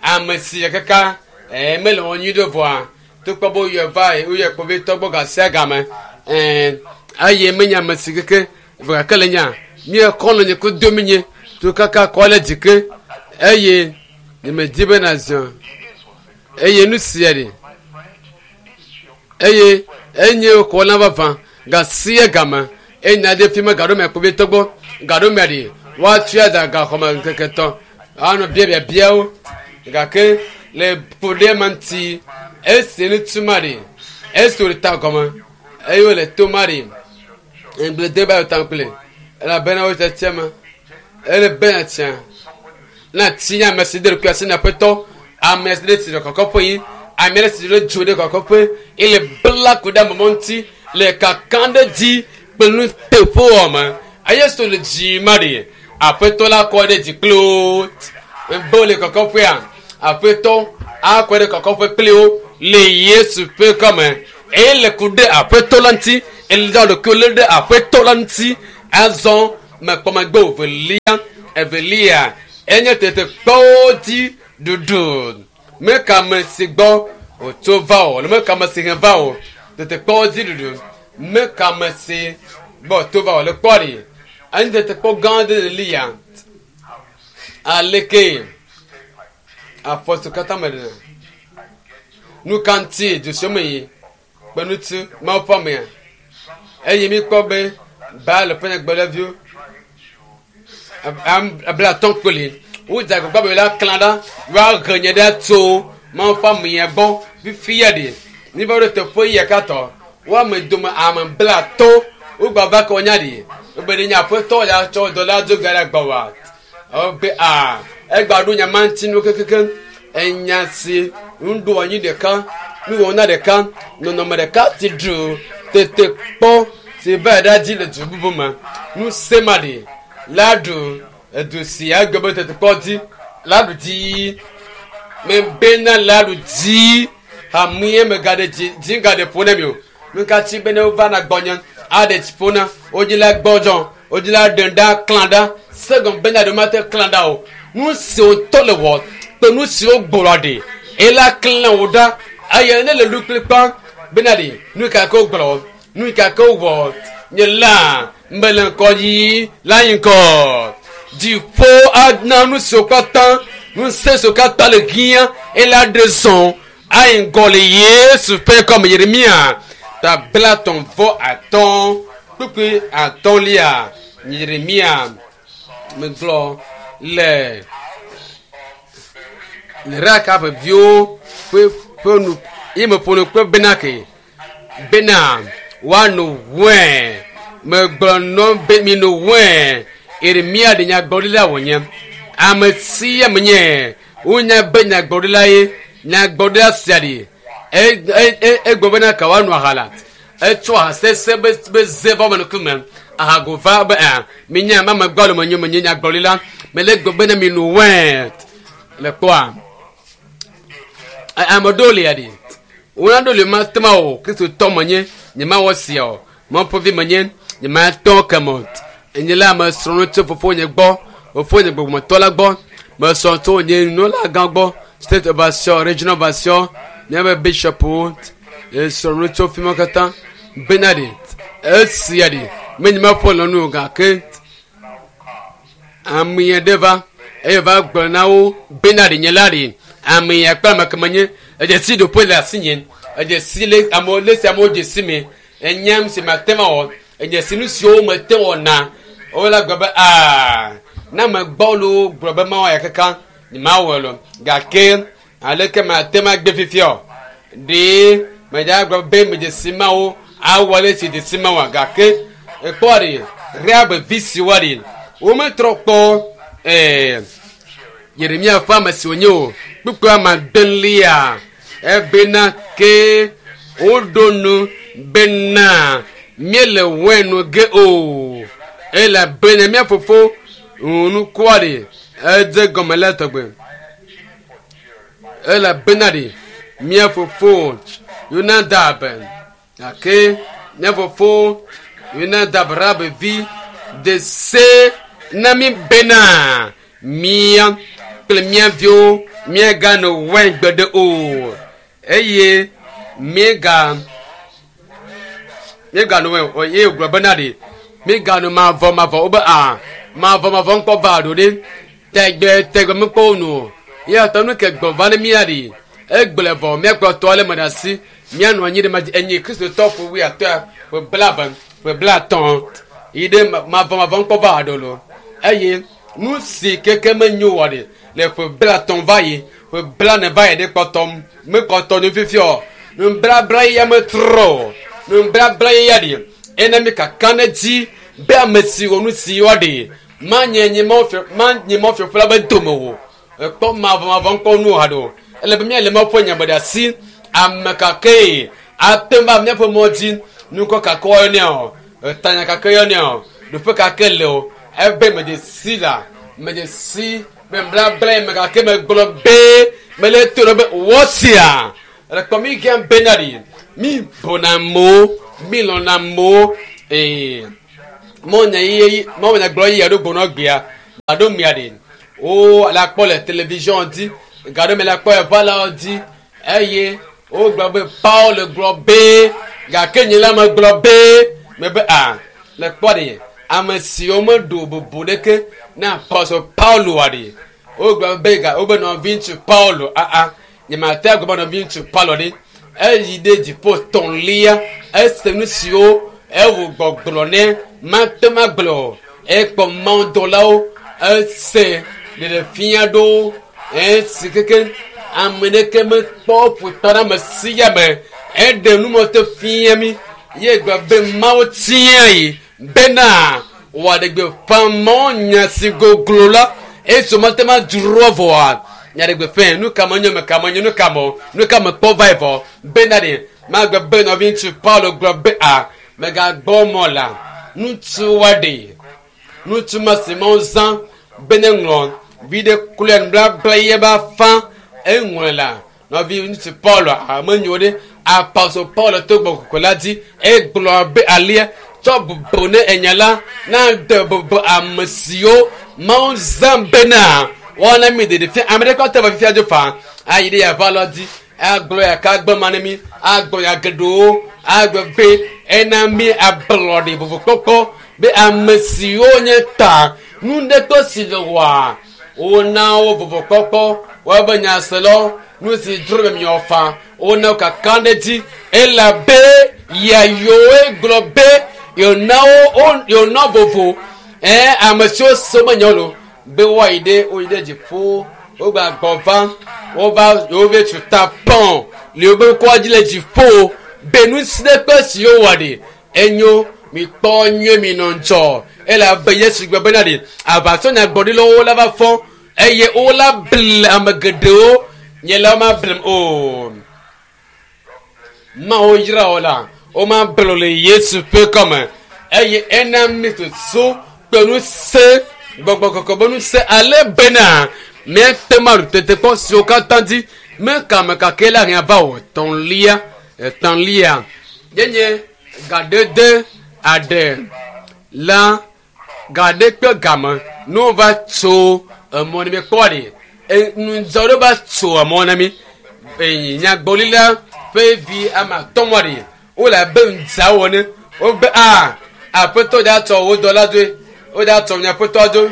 ame si kaka ɛɛ mele wɔ nyui ɖe vɔa tukpɔ be woyɔ va woyɔ kpovitɔ gbɔ gasia game ɛɛ eye menye ame si keke vɔ gake le nya míekɔ nɔ nye ko do mi nye to kaka kɔ le dzi ke eye nyemedi be nazɔ eye nu sia ɖe eye enye xɔ na vavã gasia game eye nya ɖe fi me gaɖo me kpovitɔ gbɔ gaɖo me ɖe woatua da gaxɔme ŋkeke tɔ̃ anɔ biabiabiawo gake le ƒo ɖe ma ŋuti esi ŋutsu ma ɖe esi wòle ta gɔme eye wòle to ma ɖe ŋgblede ba ta kple elabena wo tiatia ma ele bena tia na ti ame si de ɖokui asi na aƒetɔ ame si ɖe si le kɔkɔƒe yi ame ɖe si ɖe dzo ɖe kɔkɔƒe ele bla ku ɖe amemɔ ŋuti le kaka ɖe dzi kple nu teƒe wɔme eye so le dzi ma ɖe aƒetɔ la kɔ ɖe dzi kple wo be wole kɔkɔƒea aƒetɔ akɔ ɖe kɔkɔƒe kple wo le Yesu ƒe kɔme eye le ku ɖe aƒetɔ la ŋuti ele da ɖokuiwo lé ɖe aƒetɔ la ŋuti. Azɔ mekpɔ megbe evelia evelia enye tetekpɔwo dzi ɖuɖu. Meka ame si gbɔ wòtso va o alo meka ame si he va o. Tetekpɔwo dzi ɖuɖu. Meka ame si gbɔ wòtso va o. Le kpɔ ɖi. Enye tetekpɔ gã aɖe le lia. Aleke afɔ siwo katã me ɖena. Nu ka ŋuti du siwo me yi kpe ŋuti Mawu ƒe amea. Eye míkpɔ be Baal ƒe nyagblɔɖiviwo 50 kpli wodze agbagba be la klã ɖa woahe nye ɖa tso Mawu ƒe amea gbɔ fifia ɖi. Míva ɖo teƒe yia katã woame dome ame 50 wogbava kɔ nya ɖi. Wobe ɖe nye aƒetɔ ya tsɔ dɔ la do ga ɖe gbɔwòa. Wobe a egba ɖo nya ma ŋuti nu kekeake. Enya si nuɖoanyi ɖeka, nuwɔna ɖeka, nɔnɔme ɖeka si ɖu tetekpɔ si va ɖa dzi le du bubu me. Ŋusẽ ma ɖi la ɖu edu si agbe be tetekpɔ dzi la ɖu dzi. Mebena la ɖu dzi. Hamea megaɖe dzi dzi gaɖe ƒo na mi o. Nu ka tsi be ne wova na gbɔnye aɖe dzi ƒo na wodzi la gbɔdzɔ wodzi la ɖe ɖa klã ɖa segɔme bena ɖe mate klã ɖa o. Nu si wòtɔ le wɔ kple nu si wogblɔ ɖi ela klã wò ɖa eye ne le lu kplikpa bena ɖi nu ka ke wogblɔ nu ka ke wowɔ nye la mele ŋkɔ yi la yi ŋkɔ. Dziƒo ana nu siwo katã ŋusẽ siwo katã le hiã ela ɖe zɔ ayi ŋgɔ le Yesu ƒe kɔme Yeremia ta 35 kpukpui atɔ̃lia Yeremia megblɔ le Raka ƒe viwo ƒe ƒe nu ye meƒo nu kple bena ke bena woano wɛn megblɔ nɔ be mino wɛn Yeremia ɖe nyagblɔɖila wònye ame sia ame nye wonya be nyagblɔɖila ye nyagblɔɖila sia ɖi egblɔ bena ka woano aha la etsɔ aha sese be be ze va me ŋkume ahago va be a minya ma megbɔ le menye menye nyagblɔɖila mele gblɔ bena mino wɛn le kpɔa ame ɖewo lia ɖi wona ɖo le ma tema o kristotɔ menye nye ma wɔ sia o Mawu ƒe vi menye nye ma tɔ ke me o enye la me srɔ̃ nu tso fofonye gbɔ fofonye gbɔgbɔmetɔ la gbɔ mesrɔ̃ tso nye nunɔlagã gbɔ state overseer regional overseer míaƒe bishopwo esrɔ̃ nu tso fi ma katã bena ɖi esia ɖi menye meƒo le nu o gake ame aɖe va eye va gblɔ na wo bena ɖi nye la ɖi ame ya kple ame ke menye edze si ɖoƒe le asinye edze si le amewo le si amewo dze si me enyam si mate ma wɔ edze si nu siwo mete wɔna wola gblɔ be aa ne ame gbɔlo gblɔ be mawɔ ya kaka mawɔ lo gake aleke mate ma gbe fifia o ɖe medza gblɔ be medze si mawo awɔ le si dze si mawoa gake ekpɔ ɖi Reab vi siwo ɖi wometrɔ kpɔ ɛɛ Yeremia ƒe ame si wònye o kpukpui ame adelia ebena ke woɖo nu bena míele wɛn nu ge o elabena mía fofo nukua ɖi edze gɔme le tɔgbe elabena ɖi mía fofo Yonadab gake mía fofo Yonadab Rab vi de se na mí bena mía kple mía viwo míagano wɛn gbeɖe o eye míega míegano wɛn o eye wògblɔ bena ɖi míegano mavɔ mavɔ wobe a mavɔ mavɔ ŋkɔ va ɖo ɖe tɛgbɛ tɛgbɛ mekpɔ wo nu o eya ta nu ke gbɔ va ne mía ɖi egblẽ vɔ míakplɔ tɔ ale me ɖe asi míanɔ anyi ɖe ma dzi enye kristotɔ ƒe wuiatɔ̃ ƒe blaeve ƒe 50 yi ɖe mavɔ mavɔ ŋkɔ va ɖo lo eye nu si keke menyo wɔ ɖi le ƒe 50 va yi ƒe 40 va yi ɖe kpɔtɔ mekpɔtɔ nu fifia o nublabla ya metrɔ o nublabla ya ɖi ena mi kaka ne dzi be ame si wɔ nu si wɔ ɖi manye nye Mawu fiaƒe la be dome o ekpɔ mavɔ mavɔ ŋkɔ nu haɖe o ele be míale Mawu ƒe nya me ɖe asi ame kakee ate ŋu va míaƒe mɔ dzi nukɔ kake wɔyɔnɛ o etanya kake yɔnɛ o ɖoƒe kake le o ebe medze si la medze si be blabla yi me gake megblɔ be mele to ɖe be wɔ sia le kpɔ mi gã bena ɖi mi bona amewo mi lɔna amewo ee. Mɔnya ye mɔnya gblɔ ye aɖo gbɔnɔ gbea aɖo mia ɖe wo la kpɔ le television dzi gaɖo me la kpɔ eʋa la dzi eye wogblɔ be Paul gblɔ be gake nye la megblɔ be mebe a le kpɔ ɖe ame siwo meɖo bubu ɖeke na Apostle Paulo wa ɖe wogblɔ be ga wobe nɔviŋutsu Paulo aa nyemate agblɔ be nɔviŋutsu Paulo ɖe eyi ɖe dziƒo tɔ̃lia ese nu siwo ewu gbɔgblɔ ne mate ma gblɔ o ekpɔ mawudɔlawo ese ɖeɖefia ɖewo esi keke ame ɖeke mekpɔ ƒutɔ ɖe ame sia me eɖe numɔte fia mi ye gblɔ be mawu tia yi bena wòaɖe gbeƒã mɔ nya si goglo la esi mate ma dzro vɔa nyaɖe gbeƒã nu ka menyo me ka menyo nu ka me nu ka me kpɔ va yi vɔ bena ɖe magbe be nɔviŋutsu Paulo gblɔ be a megagbɔ mɔ la ŋutsu wa ɖe ŋutsu ma si mawu zã be ne ŋlɔ vi ɖe kloe nubabla ye ba fa eŋlɔe la nɔvi ŋutsu Paulo amenyo ɖe Apostle Paulo to gbɔgbɔ la dzi egblɔ be alia tsɔ bubu ne enya la na de bubu ame siwo mawu zã bena woana mi ɖeɖe fia ame ɖe kɔ te va fifia dzo fa ayi ɖe yava lɔ dzi agblɔ ya ka gbe ma ne mi agblɔ ya geɖewo agblɔ be ena mi ablɔɖe vovokpɔkpɔ be ame siwo nye ta nu ɖe to si le wɔa wona wo vovokpɔkpɔ woabe nyaselawo nu si dzro be miɔ fa wona wo kaka ɖe dzi elabe yayoe gblɔ be yona wo yona vovo ɛ ame siwo so menye lo be woayi ɖe woyi ɖe dziƒo wogba gbɔ va wova yewo tu ta pɔn le wobe ŋkɔa dzi le dziƒo be nu si ɖe kpe si wowɔ ɖe enyo mikpɔ nyuie mi nɔ ŋdzɔ elabe Yesu gblɔ bena ɖe aʋatsɔnyagblɔɖilawo la va fɔ eye wola ble ame geɖewo nye la woma blem o mawo yra wo la woma ble le Yesu ƒe kɔme eye ena mi soso kpe nu se gbɔgbɔ kɔkɔ be nu se ale bena míate ma ɖu tetekpɔ siwo katã dzi mekame kake la hɛn va o etɔ̃lia etɔ̃lia yenye gadede aɖe la gaɖe kpe game ne wova tso emɔ ne mi kpɔ ɖe nudzɔ ɖe va tso emɔ na mi nyagblɔɖila ƒe vi ame atɔ̃ wa ɖe wole abe ŋdzawo ene wobe a aƒetɔ dza tsɔ wo dɔla dzoe wo dza tsɔ miaƒetɔ dzo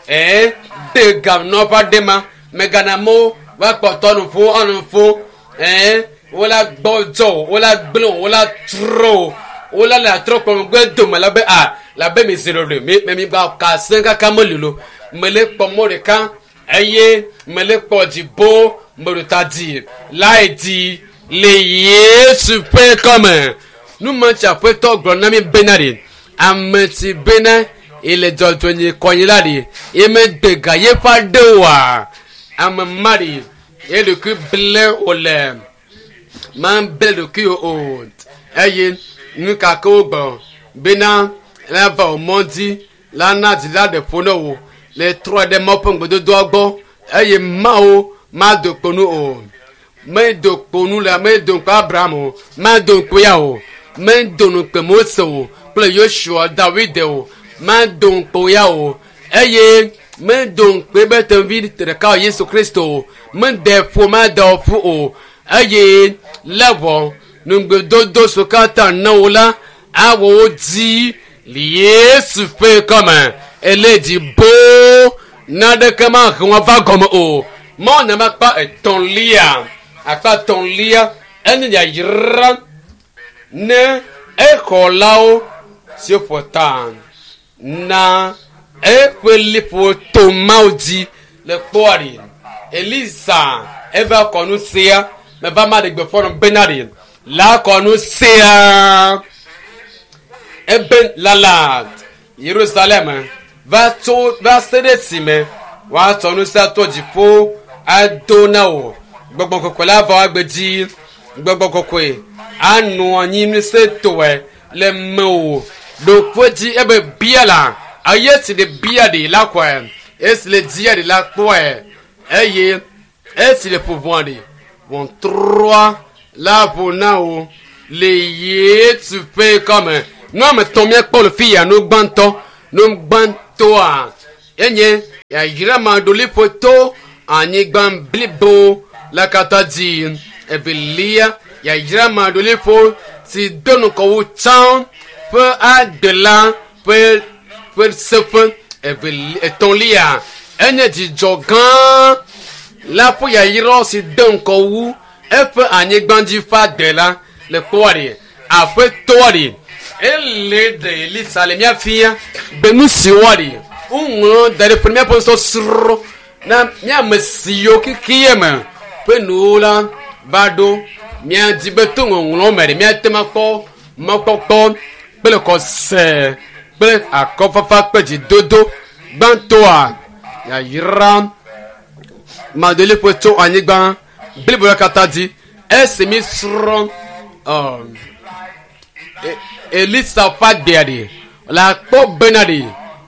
ɛɛ de ga nɔƒe aɖe ma megana amewo va kpɔtɔ nu ƒo anu ƒo ɛɛ wola gbɔdzɔ o wola gblẽ o wola trɔ o wola le atrɔ kplɔ megbe dome la be a la be mi zi ɖoɖoe mi mi gba ka sẽ kaka meli lo mele kpɔ mɔ ɖeka eye mele kpɔ dzibo meɖo dzi lae dzi le Yesu ƒe kɔme numatsi aƒetɔ gblɔ na mi bena ɖe ame si bena ele dzɔdzɔnye kɔnyi la ɖe emegbe ga yeƒe aɖe oa ame ma ɖe eɖokui ble wòle ma ble ɖokui o eye nu ka ke wogblɔ bena la va wò mɔ dzi la na dzi la ɖe ƒo ne wò le trɔ ɖe Mawu ƒe ŋugbedodoa gbɔ eye Mawu mado kpo nu o medo kpo nu le medo ŋkpe Abraham o mado ŋkpe ya o medo ŋkpe Mose o kple Yosua Dawide o mado ŋkpe ya o eye medo ŋkpe be tevi ɖeka o Yesu Kristo o mede ƒo made ƒu o eye le vɔ nugbedodo si katã na wo la awɔ wo dzi le Yesu ƒe kɔme ele dzi boo naɖeke mahe wɔn va gɔme o mɔ nama akpa etɔ̃lia akpa etɔ̃lia enye yayra ne exɔlawo si ƒo ta na eƒe liƒo to Mawu dzi le kpɔa ɖi Elisa eva kɔ nu sia meva ma ɖe gbeƒã nɔ bena ɖi la kɔ nu sia ebe lala Yerusalem va tso va se ɖe esime woatsɔ nu sia to dziƒo ado na wò gbɔgbɔ kɔkɔe la va agbe dzi gbɔgbɔ kɔkɔe anɔ anyi ŋusẽtɔe le mewò ɖoƒe dzi ebe bia la eye si le bia ɖi la kɔe esi le dzia ɖi la kpɔe eye esi le ƒo ʋɔa ɖi ʋɔtrɔa la ƒo na wò le Yesu ƒe kɔme. Nu ame tɔn míakpɔ le fi ya nu gbãtɔ nu gbãtɔa enye yayra maɖoliƒo to anyigba blibo la katã dzi. Evelia yayra maɖoliƒo si do ŋgɔ wu tsã ƒe adela ƒe ƒe seƒe. Eveli etɔ̃lia enye dzidzɔ gã la ƒe yayra si de ŋgɔ wu eƒe anyigba dzi ƒe adela le kpɔa ɖe aƒetɔa ɖe ele ɖe Elisa le mía fia be nu si woa ɖe woŋlɔ da ɖe ƒe míaƒe sɔsrɔ̃ na míame siwo xexea me ƒe nuwo la va ɖo míadi be to ŋɔŋlɔ me ɖe míate ŋu akpɔ mɔkpɔkpɔ kple xɔse kple akɔfafa kple dzidodo gbãtɔa yayra madoliƒo tso anyigba blibo la katã dzi esi mi srɔ̃ Elisa ƒe agbea ɖe la kpɔ bena ɖe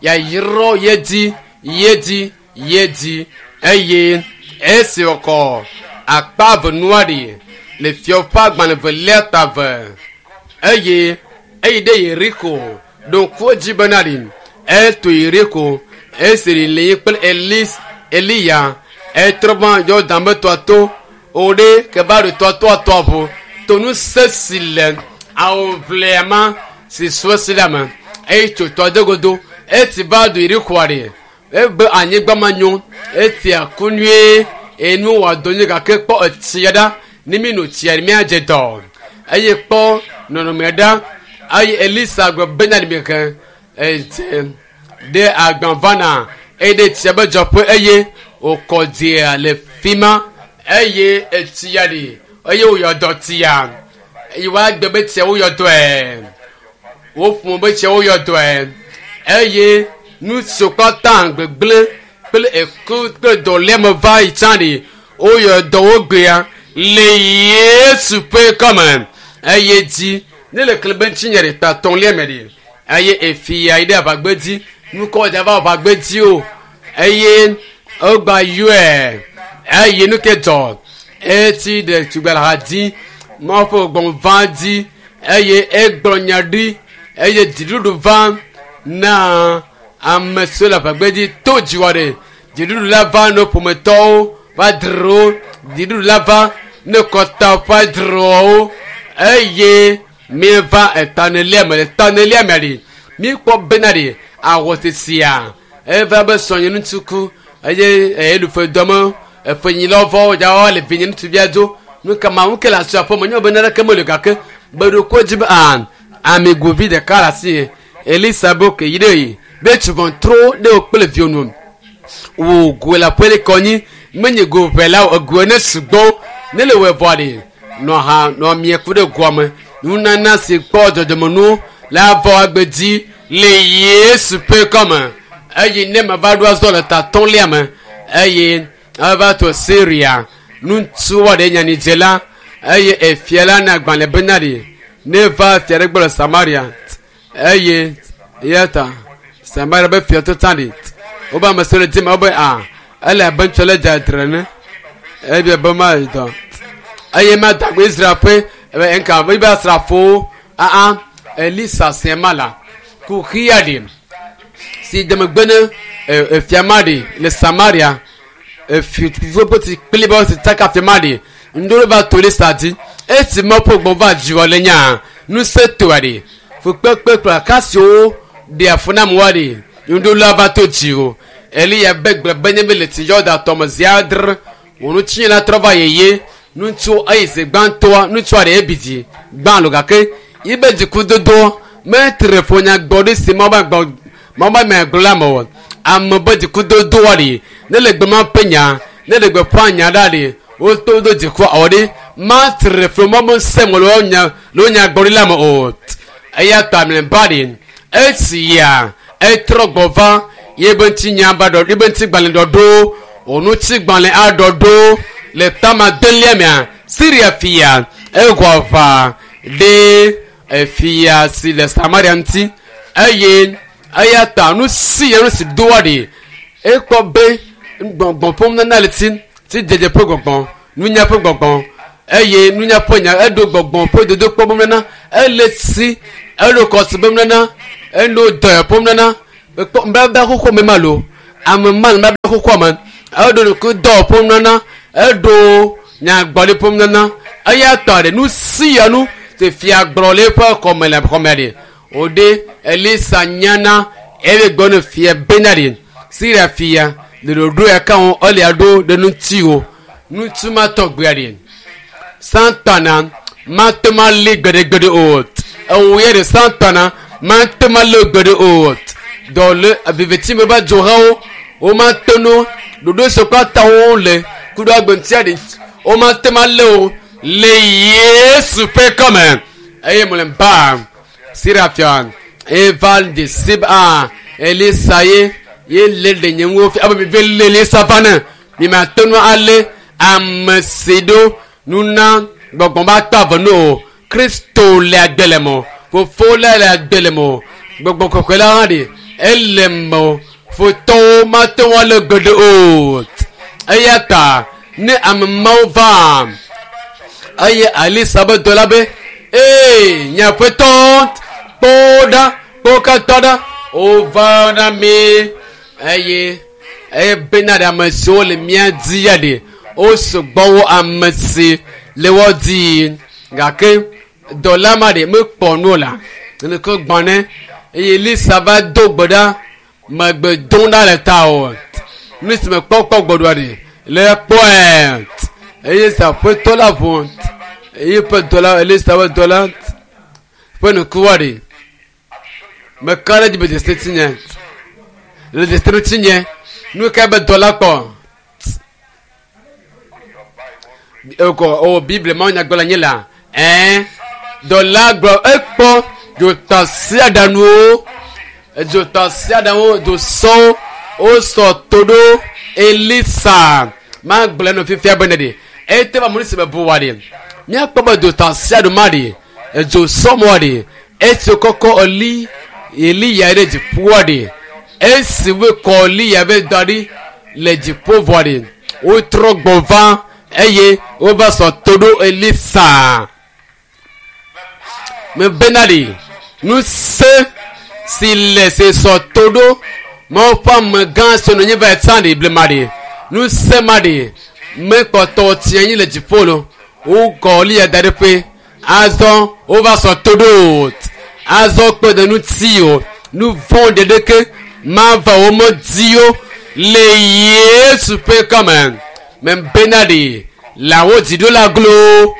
yayrɔ ye dzi ye dzi ye dzi eye esi wòkɔ akpa eve nua ɖe le fiɔ ƒe agbalẽ velia ta ve eye eyi ɖe Yeriko ɖo ŋku edzi bena ɖe eto Yeriko esi li kple Elis Eliya etrɔ va Yɔdan be tɔa to o ɖe ke va ɖo tɔa toa tɔa ʋu to ŋusẽ si le awuʋlia ma si sɔ si la me eye tso tɔa de godo esi va do Yerikoa ɖe ebe anyigba ma nyo etia ku nyuie enu wɔ dɔ nyuie gake kpɔ etsia ɖa ne mi no tsia míadze dɔ eye kpɔ nɔnɔme ɖa eye Elisa gblɔ bena ɖe mi ke edze ɖe agbã vana eye ɖe tsia be dzɔƒe eye wòkɔ dzea le fi ma eye etsia ɖi eye wòyɔ dɔ tsia eye woagbe be tsia woyɔ dɔe woƒo be tsia woyɔ dɔe eye nu siwo katã gbegblẽ kple eku kple dɔléame va yi tsã ɖi woyɔ dɔ wo gbea le Yesu ƒe kɔme eye dzi ne le kle be ŋutinye ɖe ta tɔ̃lia me ɖi eye efia yi ɖe aʋagbe dzi nukɔ dza va aʋagbe dzi o eye egba yɔe eye nu ke dzɔ etsi ɖe tugbela dzi Mawu ƒe gbɔgbɔ va dzi eye egblɔ nya ɖi eye dziɖuɖu va na ame siwo le aʋagbe dzi to dziwɔ ɖe dziɖuɖu la va ne ƒometɔwo va dzro dziɖuɖu la va ne kɔta va dzrowo eye mieva etanelia me le tanelia me ɖi mikpɔ bena ɖi awɔ sesia eva be sɔnye ŋutsu ku eye eɖufe dɔme efenyilawo vɔ dzawo le vinye ŋutsuvia dzo nu ka ma ŋu ke le asi aƒe me nyɔ be naneke meli gake gbeɖoko dzi be a amigovi ɖeka le asi ye Elisa be ke yi ɖe yi be tsuvɔn tro ɖe wo kple viwo nu wò goe le aƒe le kɔnyi menye go ʋɛ la o egoe ne sugbɔ ne le wɔ vɔ ɖe nɔ ha nɔ mie ku ɖe goa me nunana si kpɔ dzɔdzɔmenuwo la vɔ agbe dzi le Yesu ƒe kɔme eye ne me va ɖo azɔ le tatɔ̃lia me eye eva to Syria ŋutsu ɖe nyanyidzela eye efia la na agbalẽ bena ɖi ne va fia ɖe gbɔ le Samaria eye eya ta Samaria be fia to tsã ɖi wobe ame siwo le dzi me wobe a ele abe ŋutsu le dzadzre ne ebia be ma yi dɔ eye ma dagbe Israel ƒe ebe nka ebe asrafowo aa Elisa sia ma la kuxia ɖi si demegbe ne efia ma ɖi le Samaria efiƒoƒo ti kpli be si tsaka fia ma ɖi ŋdolo va to Elisa dzi esi me ƒe gbɔ va dziwɔ le nya ŋusẽ toa ɖi fukpekpe kple akasiwo ɖe afu na amewoa ɖi ŋdolo va to dzi o Eliya be gblɔ be nye be le tsi Yɔdan tɔme zi adre wò ŋutinye la trɔ va yeye ŋutsu eyi zi gbãtɔa ŋutsua ɖe ebi dzi gbã lo gake yibe dzikudodo metre ƒo nyagbɔɖi si Mawu be gbɔ Mawu be ame gblɔ la me o ame be dzikudodoa ɖi ne le gbe ma ƒe nya ne le gbeƒã nya ɖa ɖi woto do dzikua awɔ ɖi matre ƒo Mawu be ŋusẽ me le wo nya le wo nyagbɔɖi la me o eya ta mlɔeba ɖi esi ya etrɔ gbɔ va yebe ŋutinya va ɖɔ yebe ŋutigbalẽ ɖɔɖo wò ŋutigbalẽ aɖɔ ɖo le tama delia mea Syria fia ewɔ aʋa ɖe efia si le Samaria ŋuti eye eya ta nu si ya nu si doa ɖi ekpɔ be gbɔgbɔ ƒe nunana le ti ti dzedze ƒe gbɔgbɔ nunya ƒe gbɔgbɔ eye nunya ƒe nya eɖo gbɔgbɔ ƒe dodokpɔ be nunana ele si Eɖo kɔsi be nana, eɖo dɔyɔ ƒom nana. Ekpɔ nubabla xoxo me ma lo. Ame ma nubabla xoxoa me. Eɖo nuku dɔ ƒom nana, eɖo nyagbɔɖi ƒom nana. Eya tɔ ɖe nu sia nu si fia gblɔ le eƒe xɔme le xɔme ɖe. Wòɖe Elisa nyana eye gbɔ ne fia bena ɖe. Siria fia le ɖoɖo ya ka wɔm ele aɖo ɖe ŋuti o. Ŋutsu ma tɔgbea ɖe. Satana mate ŋu alé gbeɖegbeɖe o. Ewo ya ɖe Satana mate ŋu alé gbeɖe o. Dɔ le viviti me va dzohawo womate ŋu ɖoɖo si katã wole ku ɖe agbe ŋutia ɖe womate ŋu alé o le Yesu ƒe kɔme. Eye mlɔeba Siria fia eva de sib a Elisa ye ye lé ɖe nye ŋu fia abe mi ve lé Elisa va ne mi mate ŋu alé ame si ɖo nuna gbɔgbɔ ba tɔ ave no o. Kristo le agbe le me o. Fofo la le agbe le me o. Gbɔgbɔ kɔkɔe la hã ɖe ele me o. Futɔwo mate ŋu alé gbeɖe o. Eya ta ne ame mawo va eye Elisa be dɔla be ee nye aƒetɔ kpɔ ɖa kpɔ katã ɖa wova na mi eye eye bena ɖe ame siwo le mía dzi ya ɖe wosugbɔ wo ame si le wo dzi gake dɔla ma ɖe mekpɔ nu o la neke gbɔ ne eye Elisa va do gbe ɖa megbe dom ɖa le ta o nu si mekpɔ kpɔ gbɔɖoa ɖe le kpɔe eye aƒetɔ la ʋu eye ƒe dɔla Elisa ƒe dɔla ƒe nukuwa ɖe meka ɖe dzi be dzesi tinye le dzesi ŋutinye nu ka be dɔla kpɔ ekɔ o Biblia ma nyagblɔ nyi la ɛn dɔla gblɔ ekpɔ dzotasiaɖaŋuwo dzotasiaɖaŋuwo dzosɔwo wosɔ to ɖo Elisa magblɔ nu fifia be ne ɖe ete va mu si me bu wa ɖe míakpɔ be dzotasiaɖo ma ɖe edzosɔ mɔ ɖe esi kɔkɔ eli Eliya ɖe dziƒoa ɖe esi wokɔ Eliya be da ɖi le dziƒo vɔ ɖe wotrɔ gbɔ va eye wova sɔ to ɖo Elisa mebena ɖe ŋusẽ si le si sɔ to ɖo Mawu ƒe amegã si nɔ anyi va yi tsã ɖe blema ɖe ŋusẽ ma ɖe mekpɔtɔ tsi anyi le dziƒo lo wokɔ Eliya da ɖe ƒe azɔ wova sɔ to ɖo azɔ kpe ɖe ŋuti o nu vɔ̃ ɖeɖeke mava wo me dzi o le Yesu ƒe kɔme mebena ɖe lãwo dziɖola glo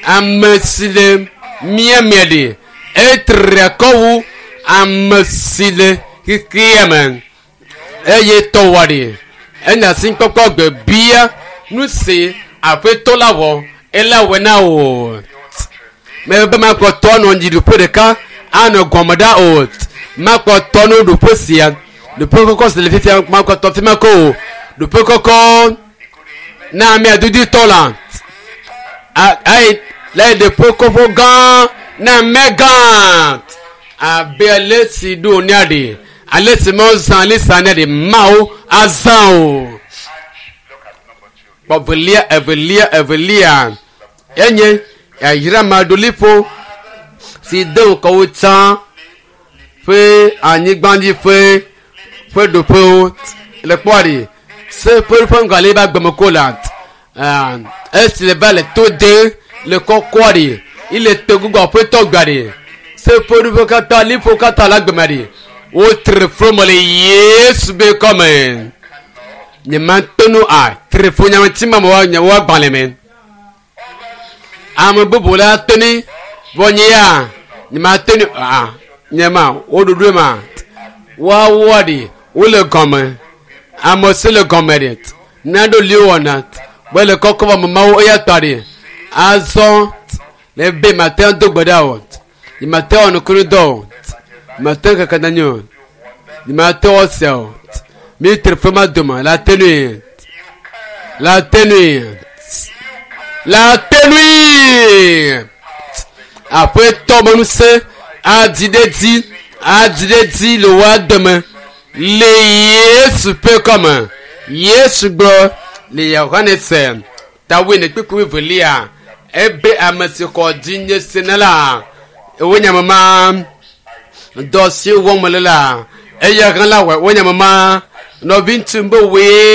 ame si le mía mea ɖe etre akɔ wu ame si le xexea me eye tɔwɔ ɖe enya si kpɔkpɔ gbe bia nu si aƒetɔ la wɔ ela wɔ na o mebe makpɔtɔ nɔ dziɖuƒe ɖeka anɔ gɔme ɖa o makpɔtɔ no ɖoƒe sia ɖoƒe kɔkɔ si le fifia makpɔtɔ fi ma ko o ɖoƒe kɔkɔ na ame dudutɔ la ayi le ɖoƒe kɔkɔ gã na ame gã abe ale si ɖo ne aɖe ale si mezã Elisa ne ɖe mawo azã o Look at number two. kpɔ velia evelia evelia enye yayra maɖoliƒo si de ŋgɔ wo tsã ƒe anyigbadzi ƒe ƒe ɖoƒewo le kpɔa ɖi se ƒe ƒe ŋgɔ ale ba gbeme ko la ah, esi le va le to de le kɔkɔa ɖi ile te gbogbo aƒetɔ gba ɖi se ƒe ɖoƒe katã liƒo katã le agbeme ɖi wotre fro me le Yesu be kɔme nye mate ŋu a tre fo nyameti ma me wa nye wa gbalẽ me ame bubu la toni vɔ nye ya nye mate ŋu a nye ma wo ɖoɖoe ma woawoa ɖi wole gɔme ame si le gɔme ɖi naɖo li wɔna be le kɔkɔ vɔ ame mawo eya tɔ ɖi azɔ le be mate ŋu do gbe ɖa o nye mate wɔ nukunu dɔ o mate ŋu kaka na nye o nye mate wɔ sia o mi tre fo ma dome la tenui la tenui la tenui aƒetɔ me ŋusẽ adzi ɖe dzi adzi ɖe dzi le woa dome le Yesu ƒe kɔme Yesu gblɔ le Yohanes tawoe ne kpekpe velia ebe ame si xɔ dzi nye se ne la ewo nye ame ma. Dɔ si wɔm le la, eya hã la wɔ wonye mama. Nɔvi ŋutsu be woe.